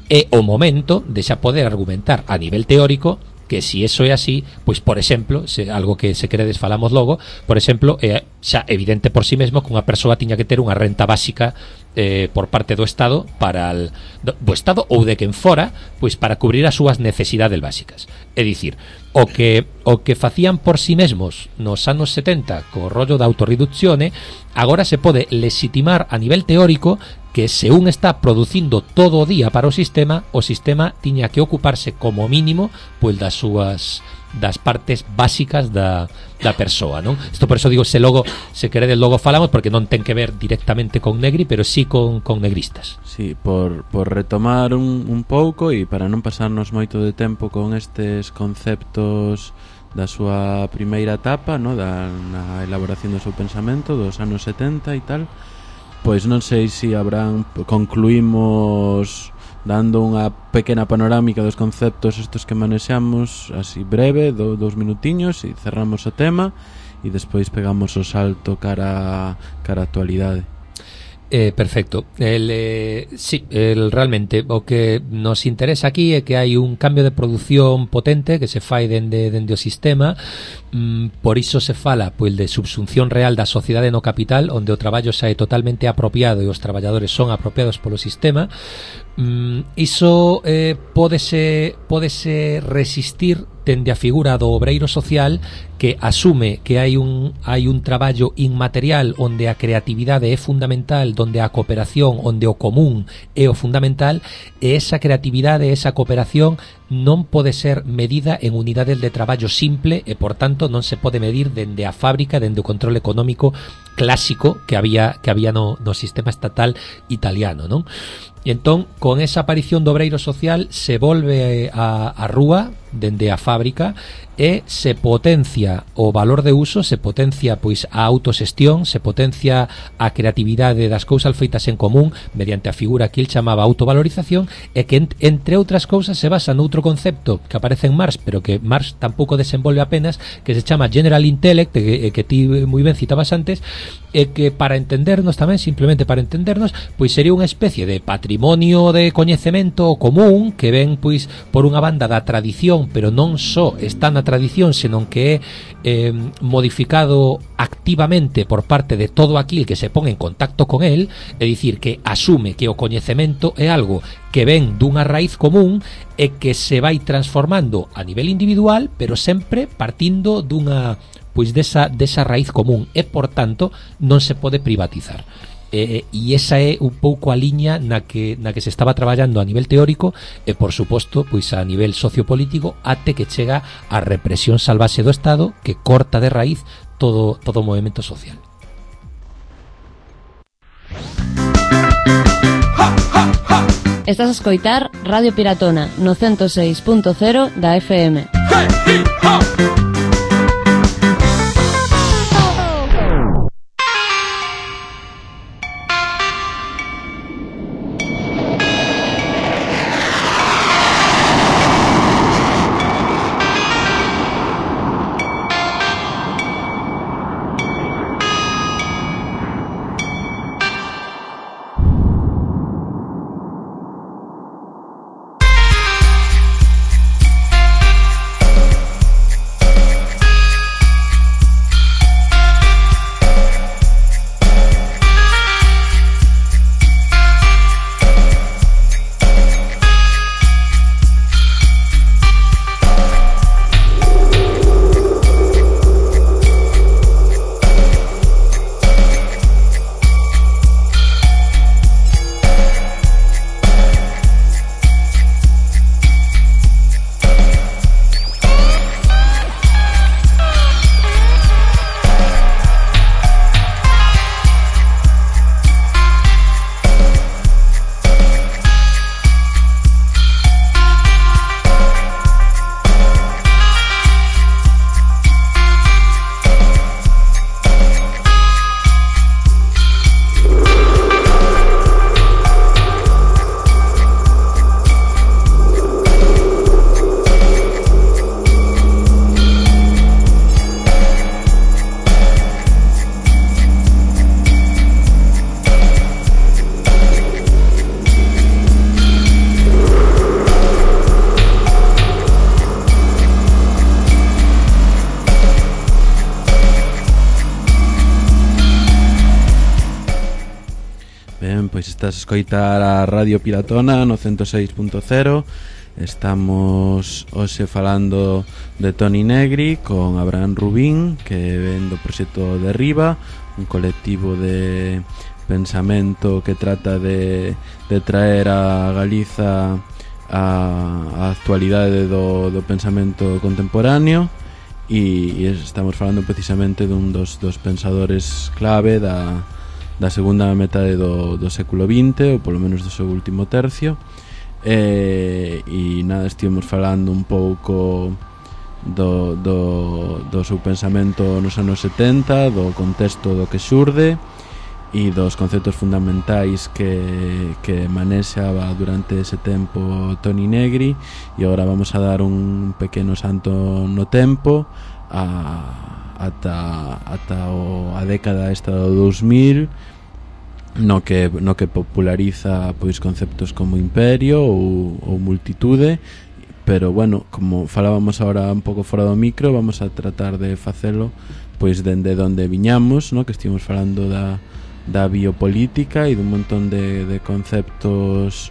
é o momento de xa poder argumentar a nivel teórico que si eso é así, pois por exemplo, se, algo que se queredes falamos logo, por exemplo, é xa evidente por si sí mesmo que unha persoa tiña que ter unha renta básica eh, por parte do Estado para el, do, do Estado ou de quen fora, pois para cubrir as súas necesidades básicas. É dicir, o que o que facían por si sí mesmos nos anos setenta co rollo da autorreduccione, agora se pode legitimar a nivel teórico que se un está producindo todo o día para o sistema, o sistema tiña que ocuparse como mínimo pois das súas das partes básicas da, da persoa, non? Isto por eso digo, se logo, se queredes logo falamos, porque non ten que ver directamente con Negri, pero sí con, con negristas. Sí, por, por retomar un, un pouco e para non pasarnos moito de tempo con estes conceptos da súa primeira etapa, no? Da na elaboración do seu pensamento dos anos setenta e tal, pois non sei se habrán, concluímos dando unha pequena panorámica dos conceptos estos que manexamos así breve, do, dous minutiños, e cerramos o tema e despois pegamos o salto cara cara a actualidade. Eh, perfecto. El, eh, sí, el, realmente o que nos interesa aquí é que hai un cambio de produción potente que se fai dende, dende o sistema, mm, por iso se fala pois, de subsunción real da sociedade no capital, onde o traballo xa é totalmente apropiado e os traballadores son apropiados polo sistema. Mm, iso eh, pódese, pódese resistir dende a figura do obreiro social que asume que hai un hai un traballo inmaterial onde a creatividade é fundamental, onde a cooperación, onde o común é o fundamental, e esa creatividade, esa cooperación non pode ser medida en unidades de traballo simple e, por tanto, non se pode medir dende a fábrica, dende o control económico clásico que había que había no, no sistema estatal italiano, non? E entón, con esa aparición do obreiro social se volve a, a rúa dende a fábrica e se potencia o valor de uso, se potencia pois a autoxestión, se potencia a creatividade das cousas feitas en común mediante a figura que el chamaba autovalorización, e que entre outras cousas se basa noutro concepto que aparece en Marx, pero que Marx tampouco desenvolve apenas, que se chama General Intellect, que, que ti moi ben citabas antes, e que para entendernos tamén, simplemente para entendernos, pois sería unha especie de patrimonio de coñecemento común que ven pois por unha banda da tradición, pero non só está na tradición, senón que é eh, modificado activamente por parte de todo aquil que se pon en contacto con el, é dicir, que asume que o coñecemento é algo que ven dunha raíz común e que se vai transformando a nivel individual, pero sempre partindo dunha pois desa, desa raíz común, e por tanto non se pode privatizar. Eh, e esa é un pouco a liña na que, na que se estaba traballando a nivel teórico e, por suposto, pois a nivel sociopolítico, até que chega a represión salvaxe do Estado que corta de raíz todo, todo o movimento social. Estás a escoitar Radio Piratona no ciento seis punto cero da F M. pois estás a escoitar a Radio Piratona no ciento seis punto cero. Estamos hoxe falando de Toni Negri con Abraham Rubín, que ven do proxecto Derriba, un colectivo de pensamento que trata de, de traer a Galiza a, a actualidade do, do pensamento contemporáneo. E, e estamos falando precisamente dun dos, dos pensadores clave da, da segunda metade do, do século vinte, ou polo menos do seu último tercio. E, e nada, estivemos falando un pouco do, do, do seu pensamento nos anos setenta, do contexto do que xurde e dos conceptos fundamentais que, que manexaba durante ese tempo Toni Negri. E agora vamos a dar un pequeno salto no tempo a, ata, ata o, a década esta do dous mil, no que, no que populariza pois conceptos como imperio ou, ou multitude. Pero bueno, como falábamos agora un pouco fora do micro, vamos a tratar de facelo pois dende onde viñamos, no? Que estivemos falando da da biopolítica e dun montón de, de conceptos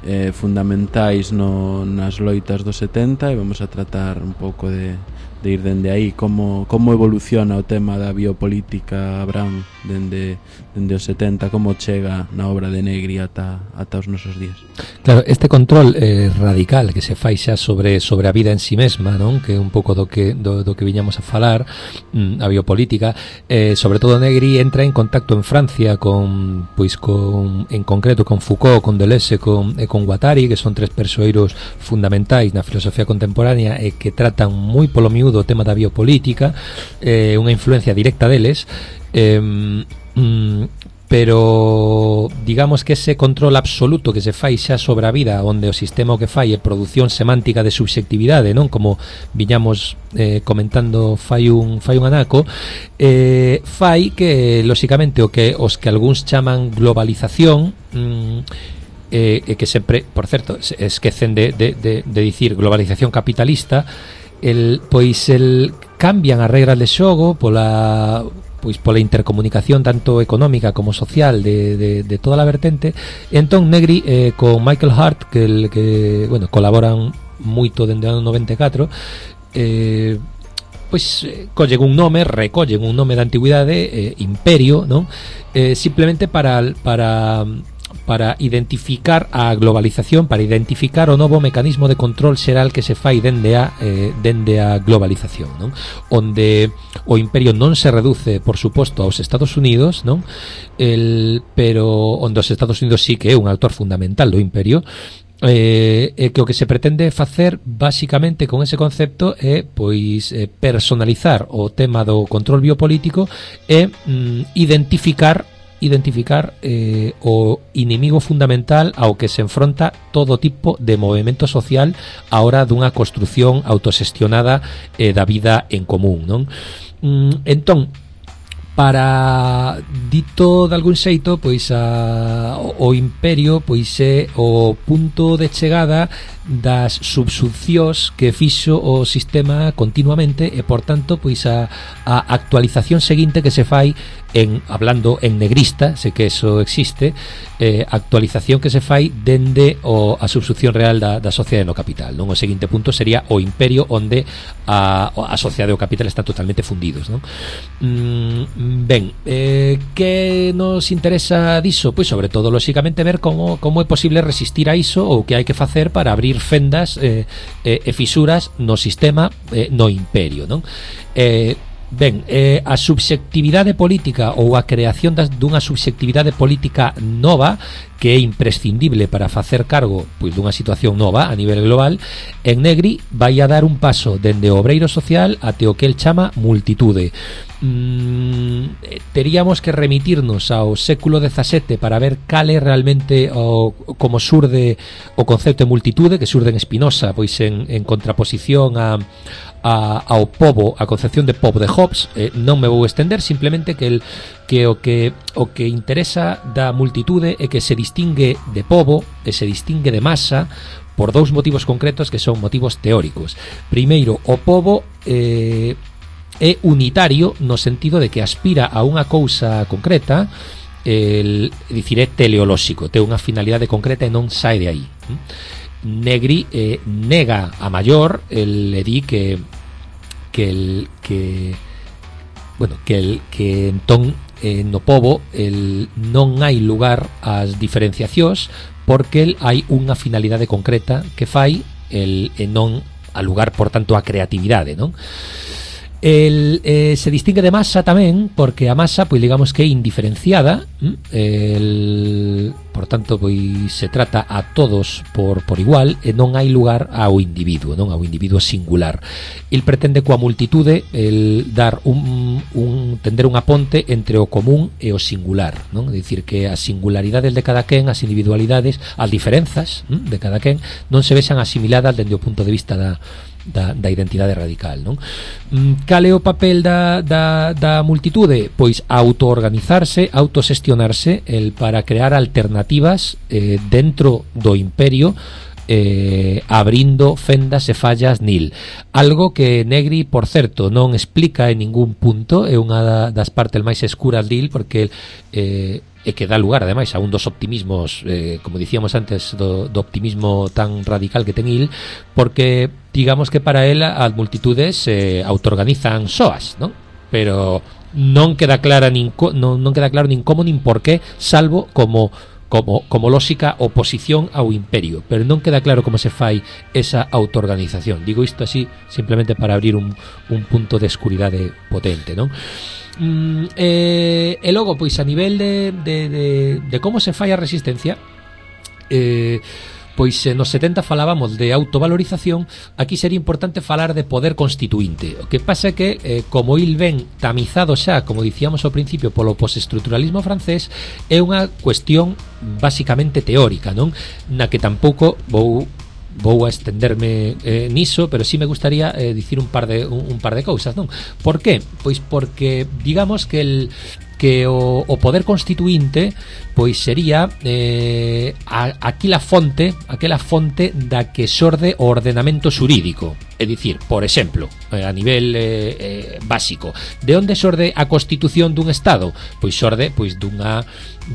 eh, fundamentais no, nas loitas dos setenta, e vamos a tratar un pouco de, de ir dende aí como, como evoluciona o tema da biopolítica, Abraham, dende, dende os setenta, como chega na obra de Negri ata, ata os nosos días. Claro, este control eh, radical que se fai xa sobre sobre a vida en si mesma, non? Que é un pouco do que do, do que viñamos a falar, mm, a biopolítica, eh, sobre todo Negri entra en contacto en Francia con, pois con, en concreto con Foucault, con Deleuze, con, e con Guattari, que son tres persoeiros fundamentais na filosofía contemporánea e que tratan moi polo miúdo o tema da biopolítica, eh, unha influencia directa deles. Eh, mm, pero digamos que ese control absoluto que se fai xa sobre a vida, onde o sistema o que fai é produción semántica de subxectividade, non? Como viñamos eh, comentando fai un fai un anaco, eh, fai que lóxicamente o que os que algúns chaman globalización, mm, eh, que sempre, por certo, se esquecen de, de, de, de dicir globalización capitalista, el, pois el cambian as regras de xogo pola pois pola intercomunicación tanto económica como social de, de, de toda a vertente. Entón Negri eh, con Michael Hart, que, el, que bueno, colaboran moito dende o ano noventa e catro, eh, pois eh, collen un nome, recollen un nome da antigüidade, eh, Imperio, non? Eh, simplemente para para para identificar a globalización, para identificar o novo mecanismo de control xeral que se fai dende a eh, dende a globalización, non? Onde o imperio non se reduce, por suposto, aos Estados Unidos, non? El, pero onde os Estados Unidos sí que é un actor fundamental do imperio. Eh, e que o que se pretende facer basicamente con ese concepto é pois eh, personalizar o tema do control biopolítico e mm, identificar identificar eh, o inimigo fundamental ao que se enfronta todo tipo de movimento social a hora dunha construción autoxestionada eh, da vida en común, non? Mm, entón, para dito de algún xeito, pois a, o, o imperio pois é o punto de chegada das subsuncións que fixo o sistema continuamente e, por tanto, pois a, a actualización seguinte que se fai en, hablando en negrista, sei que eso existe, eh, actualización que se fai dende o, a subsunción real da, da sociedade no capital, non? O seguinte punto sería o imperio onde a, a sociedade e o capital están totalmente fundidos, non? Mm, ben, eh, que nos interesa diso? Pois sobre todo, lóxicamente, ver como, como é posible resistir a iso ou que hai que facer para abrir fendas eh, eh, e fisuras no sistema, eh, no imperio, non? Eh, ben, eh, a subxectividade política ou a creación das, dunha subxectividade política nova que é imprescindible para facer cargo pois dunha situación nova a nivel global, en Negri vai a dar un paso dende o obreiro social até o que el chama multitude. Mm, teríamos que remitirnos ao século dezasete para ver cal é realmente o, como surde o concepto de multitude, que surde en Spinoza pois en, en contraposición a A, ao pobo, a concepción de pobo de Hobbes. Eh, non me vou estender, simplemente que el que o que o que interesa da multitude é que se distingue de pobo e se distingue de masa por dous motivos concretos que son motivos teóricos. Primeiro, o pobo eh, é unitario no sentido de que aspira a unha cousa concreta el, dicir, é teleolóxico, ten unha finalidade concreta e non sae de aí. Negri eh, nega a maior, el le di que que el que bueno, que el que entón eh, no pobo el non hai lugar ás diferenciacións porque el hai unha finalidade concreta que fai el e non a lugar, por tanto, a creatividade, non? El, eh, se distingue de masa tamén porque a masa, pois digamos que é indiferenciada, el, por tanto, pois se trata a todos por, por igual e non hai lugar ao individuo, non ao individuo singular. El pretende coa multitude el dar un, un tender unha ponte entre o común e o singular, non? É dicir, que as singularidades de cada quen, as individualidades, as diferenzas de cada quen non se vexan asimiladas dende o punto de vista da Da, da identidade radical, non? Cal é o papel da, da, da multitude? Pois autoorganizarse, autosestionarse el para crear alternativas eh, dentro do imperio, eh, abrindo fendas e fallas nil. Algo que Negri, por certo, non explica en ningún punto, é unha das partes máis escuras dil, porque eh, e que dá lugar, ademais, a un dos optimismos, eh, como dicíamos antes, do, do optimismo tan radical que ten il, porque digamos que para él as multitudes se eh, autoorganizan soas, non? Pero non queda clara nin co, non, non queda claro nin como nin por qué, salvo como como como lóxica oposición ao imperio, pero non queda claro como se fai esa autoorganización. Digo isto así simplemente para abrir un, un punto de escuridade potente, non? Mm, eh, e logo, pois a nivel de, de, de, de como se fai a resistencia, eh, pois eh, nos setenta falábamos de autovalorización. Aquí sería importante falar de poder constituinte. O que pasa é que, eh, como il ven tamizado xa, como dicíamos ao principio, polo postestructuralismo francés, é unha cuestión basicamente teórica, non? Na que tampouco vou vou a estenderme eh, niso, pero sí me gustaría eh, dicir un par de un, un par de cousas, non? Por qué? Pois porque digamos que el que o, o poder constituinte pois sería eh, a, aquela fonte aquela fonte da que xorde o ordenamento xurídico. É dicir, por exemplo, eh, a nivel eh, eh, básico, de onde xorde a constitución dun Estado? Pois xorde pois dunha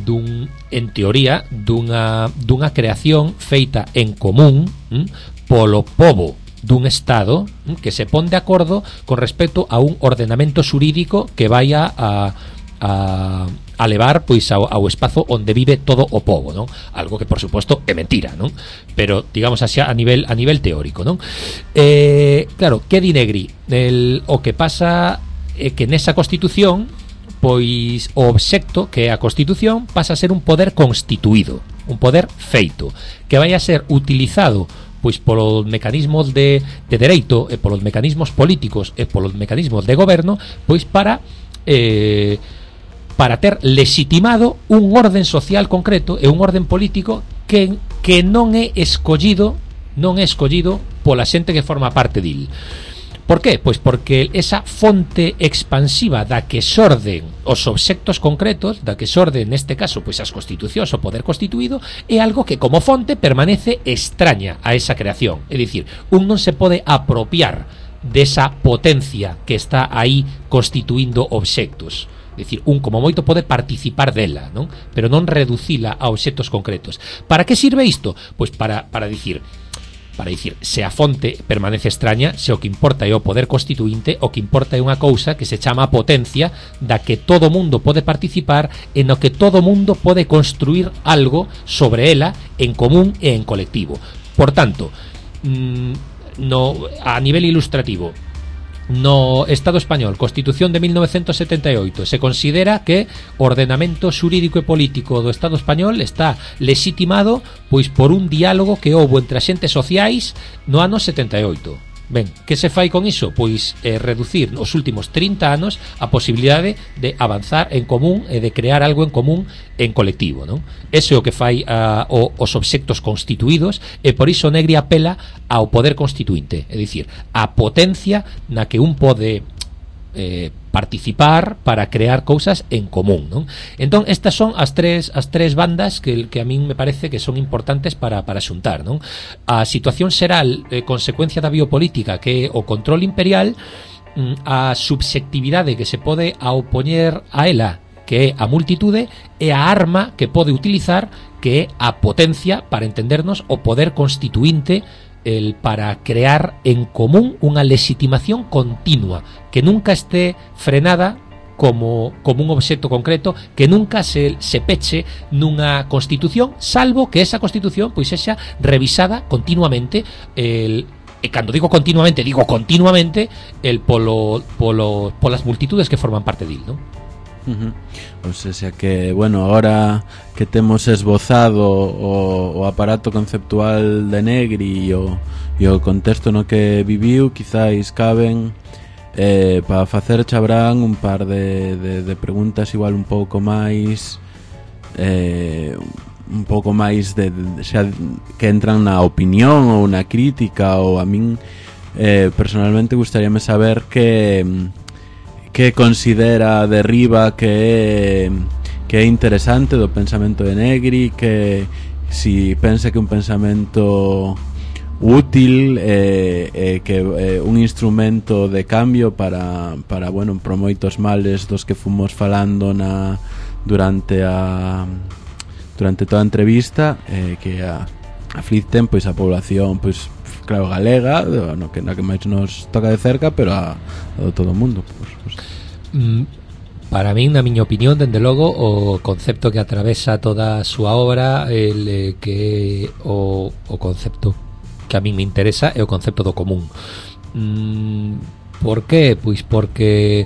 dun en teoría dunha dunha creación feita en común hm, polo pobo dun Estado hm, que se pon de acordo con respecto a un ordenamento xurídico que vaya a a, a levar pois ao, ao espazo onde vive todo o pobo, non? Algo que por suposto é mentira, non? Pero digamos así a nivel a nivel teórico, non? Eh, claro, que di Negri? El, o que pasa é que nesa Constitución pois o obxecto que é a Constitución pasa a ser un poder constituído, un poder feito, que vai a ser utilizado pois polos mecanismos de, de dereito e polos mecanismos políticos e polos mecanismos de goberno pois para eh, para ter legitimado un orden social concreto e un orden político que, que non é escollido non é escollido pola xente que forma parte dil. Por qué? Pois porque esa fonte expansiva da que xorden os obxectos concretos, da que xorden neste caso pois as constitucións, o poder constituído, é algo que como fonte permanece extraña a esa creación. É dicir, un non se pode apropiar desa potencia que está aí constituindo obxectos. É dicir, un como moito pode participar dela, non? Pero non reducila a obxectos concretos. Para que sirve isto? Pois para, para dicir para dicir, se a fonte permanece extraña, se o que importa é o poder constituinte, o que importa é unha cousa que se chama potencia, da que todo mundo pode participar e no que todo mundo pode construir algo sobre ela en común e en colectivo. Por tanto, no, a nivel ilustrativo, no Estado español, Constitución de mil novecientos setenta e oito, se considera que o ordenamento xurídico e político do Estado español está legitimado pois por un diálogo que houbo entre axentes sociais no ano setenta e oito. Ben, que se fai con iso? Pois eh, reducir nos últimos trinta anos a posibilidade de avanzar en común e de crear algo en común en colectivo, non? Ese é o que fai a, o, os obxectos constituídos e por iso Negri apela ao poder constituinte, é dicir, a potencia na que un pode eh, participar para crear cousas en común, non? Entón, estas son as tres as tres bandas que, que a min me parece que son importantes para, para xuntar, non? A situación xeral, eh, consecuencia da biopolítica, que é o control imperial, a subxectividade que se pode opoñer a ela, que é a multitude, e a arma que pode utilizar, que é a potencia, para entendernos, o poder constituinte, el para crear en común unha legitimación continua, que nunca esté frenada como, como un obxecto concreto, que nunca se, se peche nunha constitución, salvo que esa constitución pois sexa revisada continuamente, el, e cando digo continuamente, digo continuamente el polo, polo, polas multitudes que forman parte dil, non? Uh-huh. O sea que, bueno, ahora que temos esbozado o, o aparato conceptual de Negri e o, e o contexto no que viviu, quizáis caben eh, para facer Chabrán un par de, de, de preguntas igual un pouco máis eh, un pouco máis de, de, xa, que entran na opinión ou na crítica, ou a min eh, personalmente gustaríame saber que que considera Derriba que é, que é interesante do pensamento de Negri, que si pensa que un pensamento útil eh, eh, que é eh, un instrumento de cambio para, para bueno, por moitos males dos que fomos falando na, durante a durante toda a entrevista eh, que a, aflicten pois a población pois claro, galega, no que, na que máis nos toca de cerca, pero a, a do todo o mundo. Pues, pues. Mm, para min, na miña opinión, dende logo, o concepto que atravesa toda a súa obra, el eh, que o, o concepto que a min me interesa é o concepto do común. Mm, por qué? Pois porque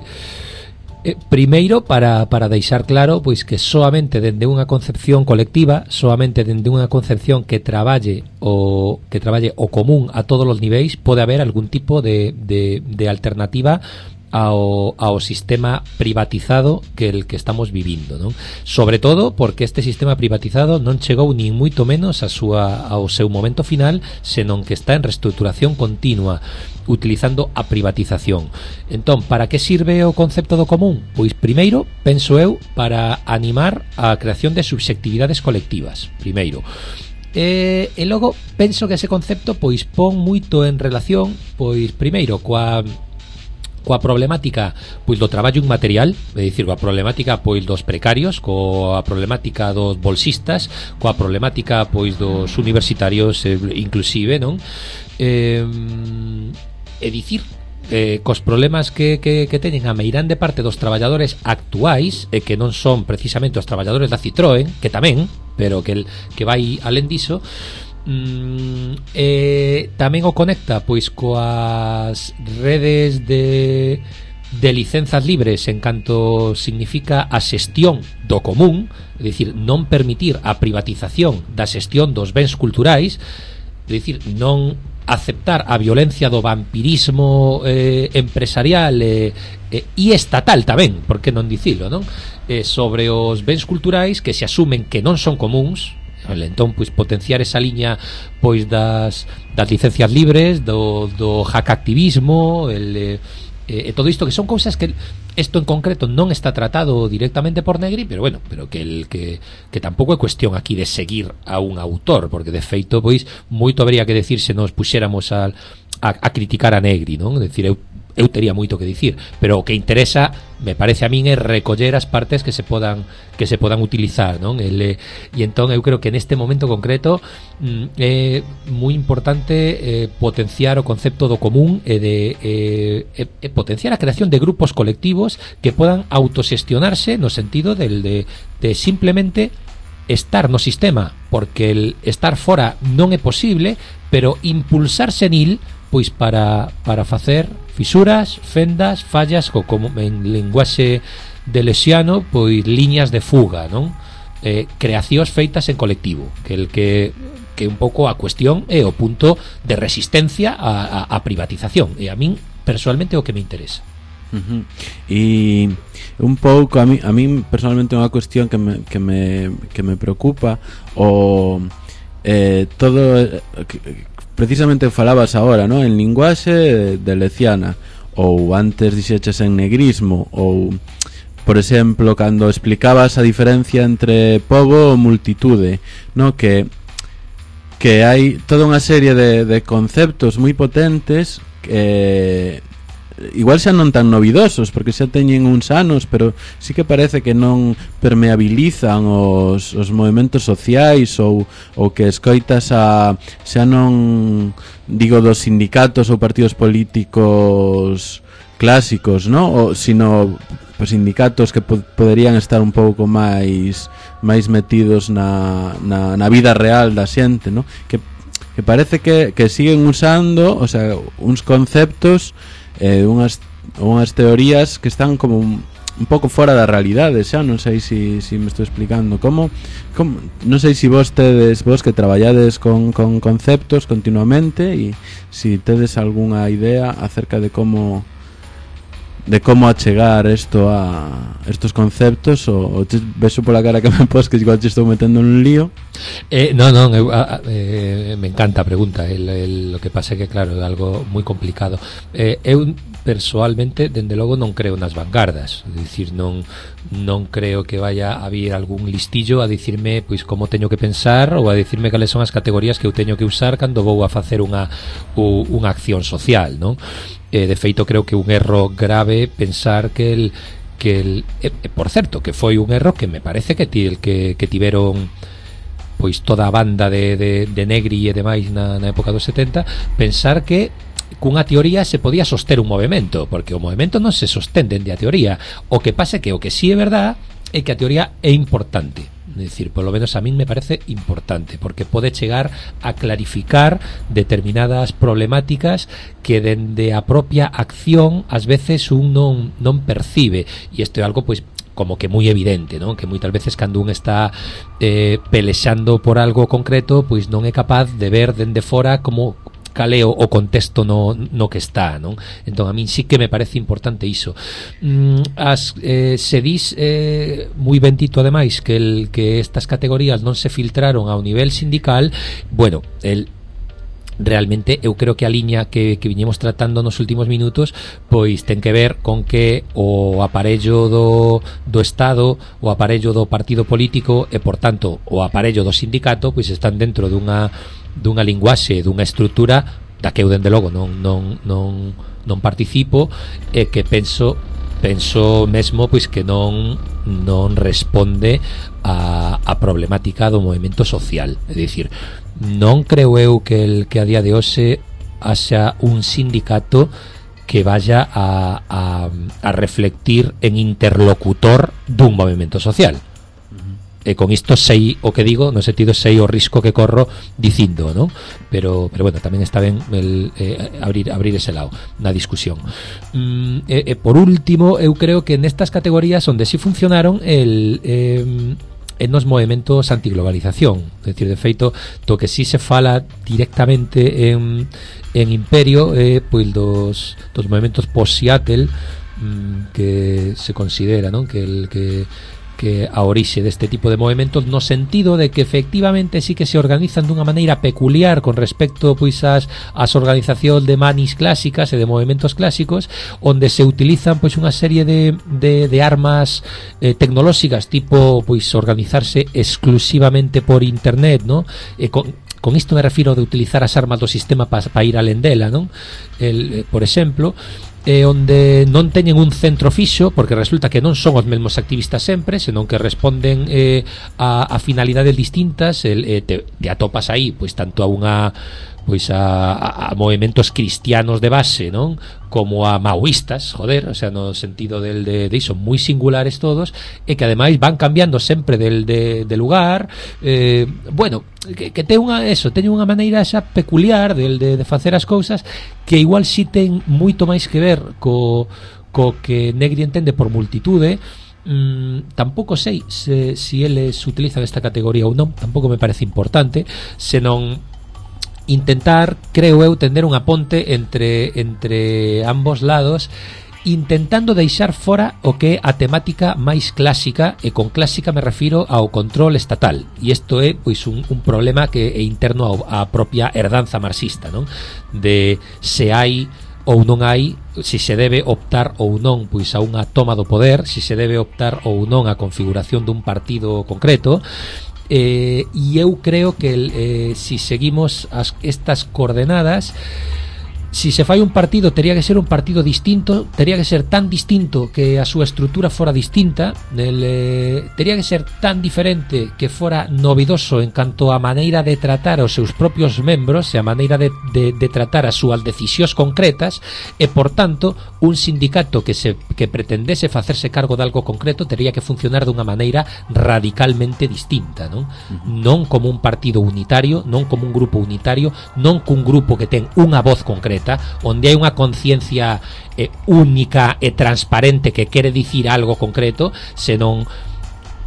Eh, primeiro, para, para deixar claro pois que soamente dende unha concepción colectiva, soamente dende unha concepción que traballe o que traballe o común a todos os niveis, pode haber algún tipo de, de, de alternativa ao, ao sistema privatizado que el que estamos vivindo, non? Sobre todo porque este sistema privatizado non chegou nin moito menos a súa, ao seu momento final, senón que está en reestructuración continua, utilizando a privatización. Entón, para que sirve o concepto do común? Pois primeiro, penso eu, para animar a creación de subxectividades colectivas, primeiro. E, e logo, penso que ese concepto pois pon moito en relación, pois primeiro, coa coa problemática pois do traballo inmaterial, é dicir, coa problemática pois dos precarios, coa problemática dos bolsistas, coa problemática pois dos universitarios eh, inclusive, non? Eh, é dicir, eh, cos problemas que, que, que teñen a meirande parte dos traballadores actuais, e que non son precisamente os traballadores da Citroën, que tamén, pero que, el, que vai alén diso, mm, eh, tamén o conecta pois coas redes de, de licenzas libres en canto significa a xestión do común, é dicir, non permitir a privatización da xestión dos bens culturais, é dicir, non aceptar a violencia do vampirismo eh, empresarial e eh, eh, estatal tamén, por que non dicilo, non? Eh, sobre os bens culturais que se asumen que non son comuns, entón pois potenciar esa liña pois das, das licencias libres, do, do hackactivismo, el eh, e eh, todo isto que son cousas que isto en concreto non está tratado directamente por Negri, pero bueno, pero que el que que tampouco é cuestión aquí de seguir a un autor, porque de feito pois moito habría que decir se nos puxéramos a a, a criticar a Negri, non? É dicir, eu eu tería moito que dicir, pero o que interesa, me parece a min, é recoller as partes que se podan que se podan utilizar, non? El, e entón eu creo que neste momento concreto mm, é moi importante eh, potenciar o concepto do común e de eh, e, e potenciar a creación de grupos colectivos que podan autoxestionarse no sentido del de, de simplemente estar no sistema, porque el estar fora non é posible, pero impulsarse nil pois para, para facer fisuras, fendas, fallas, ou como en linguaxe de Lesiano, pois liñas de fuga, non? Eh, creacións feitas en colectivo, que el que que un pouco a cuestión é o punto de resistencia a, a, a privatización, e a min personalmente é o que me interesa. Uh-huh. E un pouco a mí, a mí personalmente é unha cuestión que me, que me, que me preocupa o eh, todo que, precisamente falabas agora, ¿no? En linguaxe de Leciana, ou antes dixeches en negrismo, ou por exemplo cando explicabas a diferencia entre pobo e multitude, ¿no? Que que hai toda unha serie de, de conceptos moi potentes que igual xa non tan novidosos porque xa teñen uns anos, pero sí que parece que non permeabilizan os, os movimentos sociais ou, ou que escoitas a xa non digo dos sindicatos ou partidos políticos clásicos, ¿no? O, sino pues, sindicatos que po- poderían estar un pouco máis máis metidos na, na, na vida real da xente, ¿no? Que, que parece que, que siguen usando, o sea, uns conceptos eh, unhas, unhas teorías que están como un, un pouco fora da realidade, xa non sei se si, si me estou explicando como, como non sei se si vos tedes vos que traballades con, con conceptos continuamente e se si tedes algunha idea acerca de como de como achegar isto a estos conceptos ou, ou te beso pola cara que me pos que igual te estou metendo nun lío. Eh, no, no, eu, a, eh, me encanta a pregunta. El, el, lo que pasa é que claro, é algo moi complicado. Eh, eu persoalmente, dende logo, non creo nas vanguardas. É dicir, non non creo que vaya a vir algún listillo a dicirme pois como teño que pensar ou a dicirme cales son as categorías que eu teño que usar cando vou a facer unha u, unha acción social, non? Eh, de feito, creo que un erro grave pensar que el que el eh, por certo, que foi un erro que me parece que ti, el que que tiveron pois toda a banda de de de Negri e demais na na época dos setenta, pensar que cunha teoría se podía soster un movemento, porque o movemento non se sostén dende a teoría. O que pasa é que o que sí é verdad é que a teoría é importante. É dicir, polo menos a min me parece importante porque pode chegar a clarificar determinadas problemáticas que dende a propia acción ás veces un non, non percibe, e isto é algo pois como que moi evidente, non? Que moitas veces cando un está eh, pelexando por algo concreto pois non é capaz de ver dende fora como caleo o contexto no, no que está, non? Entón a min sí que me parece importante iso. Mm, as, eh, se dis eh, moi bendito ademais que, el, que estas categorías non se filtraron ao nivel sindical, bueno, el realmente eu creo que a liña que, que viñemos tratando nos últimos minutos pois ten que ver con que o aparello do, do Estado, o aparello do partido político e por tanto o aparello do sindicato pois están dentro dunha dunha linguaxe, dunha estrutura da que eu dende logo non, non, non, non participo e que penso penso mesmo pois que non non responde a, a problemática do movimento social. É dicir, non creo eu que el que a día de hoxe haxa un sindicato que vaya a, a, a reflectir en interlocutor dun movimento social. E con isto sei o que digo, no sentido sei o risco que corro dicindo, ¿no? Pero pero bueno, tamén está ben el, eh, abrir abrir ese lado na discusión. Mm, e, e por último, eu creo que nestas categorías onde si funcionaron el eh, en nos movimentos antiglobalización, é dicir, de feito, to que si se fala directamente en en Imperio, eh, pois dos dos movimentos post-Seattle, mm, que se considera, ¿no? Que el que que a orixe deste tipo de movimentos no sentido de que efectivamente sí que se organizan dunha maneira peculiar con respecto pois ás, ás organizacións de manis clásicas e de movimentos clásicos, onde se utilizan pois unha serie de, de, de armas eh, tecnolóxicas tipo pois organizarse exclusivamente por internet, ¿no? E con, con isto me refiro de utilizar as armas do sistema para pa ir alén dela, non? El, eh, por exemplo, eh, onde non teñen un centro fixo, porque resulta que non son os mesmos activistas sempre, senón que responden eh, a, a finalidades distintas. El, eh, te, te atopas aí pois tanto a unha pois a, a, a movimentos cristianos de base, non? Como a maoístas, joder, o sea, no sentido del de, de iso, moi singulares todos, e que ademais van cambiando sempre del de, de lugar, eh, bueno, que, que ten unha eso, teñen unha maneira xa peculiar del de, de facer as cousas que igual si ten moito máis que ver co, co que Negri entende por multitude. Mm, tampouco sei se si eles utilizan esta categoría ou non, tampouco me parece importante, senón intentar, creo eu, tender unha ponte entre entre ambos lados, intentando deixar fora o que é a temática máis clásica, e con clásica me refiro ao control estatal, e isto é pois un, un problema que é interno ao, á propia herdanza marxista, non? De se hai ou non hai, se se debe optar ou non pois a unha toma do poder, se se debe optar ou non a configuración dun partido concreto. Eh, e eu creo que eh, si seguimos as, estas coordenadas si se fai un partido tería que ser un partido distinto, tería que ser tan distinto que a súa estrutura fora distinta, el, eh, tería que ser tan diferente que fora novidoso en canto a maneira de tratar os seus propios membros e a maneira de, de, de tratar as súas decisións concretas, e por tanto un sindicato que se que pretendese facerse cargo de algo concreto tería que funcionar dunha maneira radicalmente distinta, non? Uh-huh. Non como un partido unitario, non como un grupo unitario, non cun grupo que ten unha voz concreta, onde hai unha conciencia eh, única e transparente que quere dicir algo concreto, senón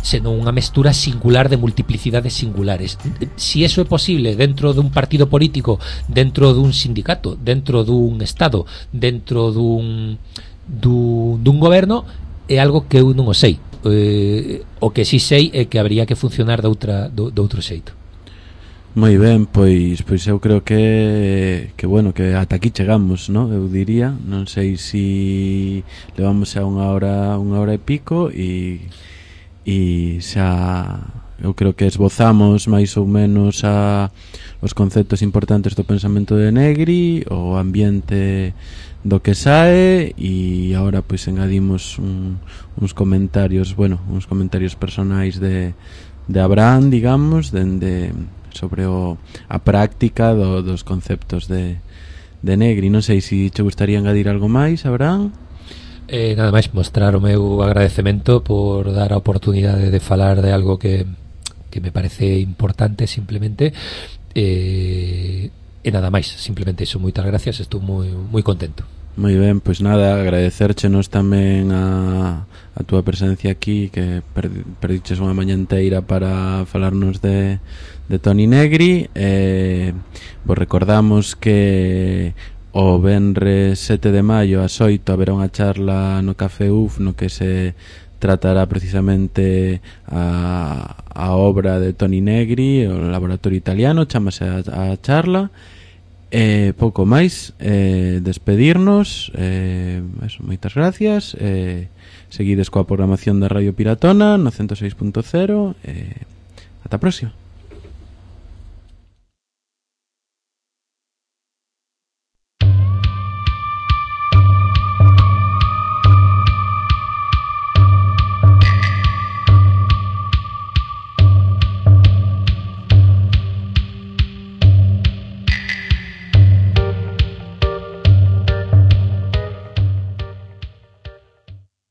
senón unha mestura singular de multiplicidades singulares. Si eso é posible dentro dun partido político, dentro dun sindicato, dentro dun estado, dentro dun dun, dun goberno, é algo que eu non o sei. Eh, o que si sei é que habría que funcionar de outra de, de outro xeito. Moi ben, pois pois eu creo que que bueno, que ata aquí chegamos, ¿no? Eu diría, non sei si levamos xa unha hora, unha hora e pico e e xa eu creo que esbozamos máis ou menos a os conceptos importantes do pensamento de Negri, o ambiente do que sae, e agora pois engadimos un, uns comentarios, bueno, uns comentarios personais de de Abraham, digamos, dende sobre o, a práctica do, dos conceptos de, de Negri. Non sei se te gustaría engadir algo máis, Abraham. Eh, nada máis mostrar o meu agradecemento por dar a oportunidade de falar de algo que, que me parece importante simplemente, eh, e nada máis, simplemente iso, moitas gracias, estou moi, moi contento. Moi ben, pois nada, agradecerchenos tamén a, a túa presencia aquí, que perdiches unha mañá inteira para falarnos de, de Toni Negri. Eh, vos recordamos que o venres sete de maio ás oito haberá unha charla no Café U F no que se tratará precisamente a, a obra de Toni Negri, o laboratorio italiano, chamase a, a charla. Eh, pouco máis, eh, despedirnos, eh, eso, moitas gracias, eh, seguides coa programación da Radio Piratona no ciento seis punto cero, eh, ata a próxima.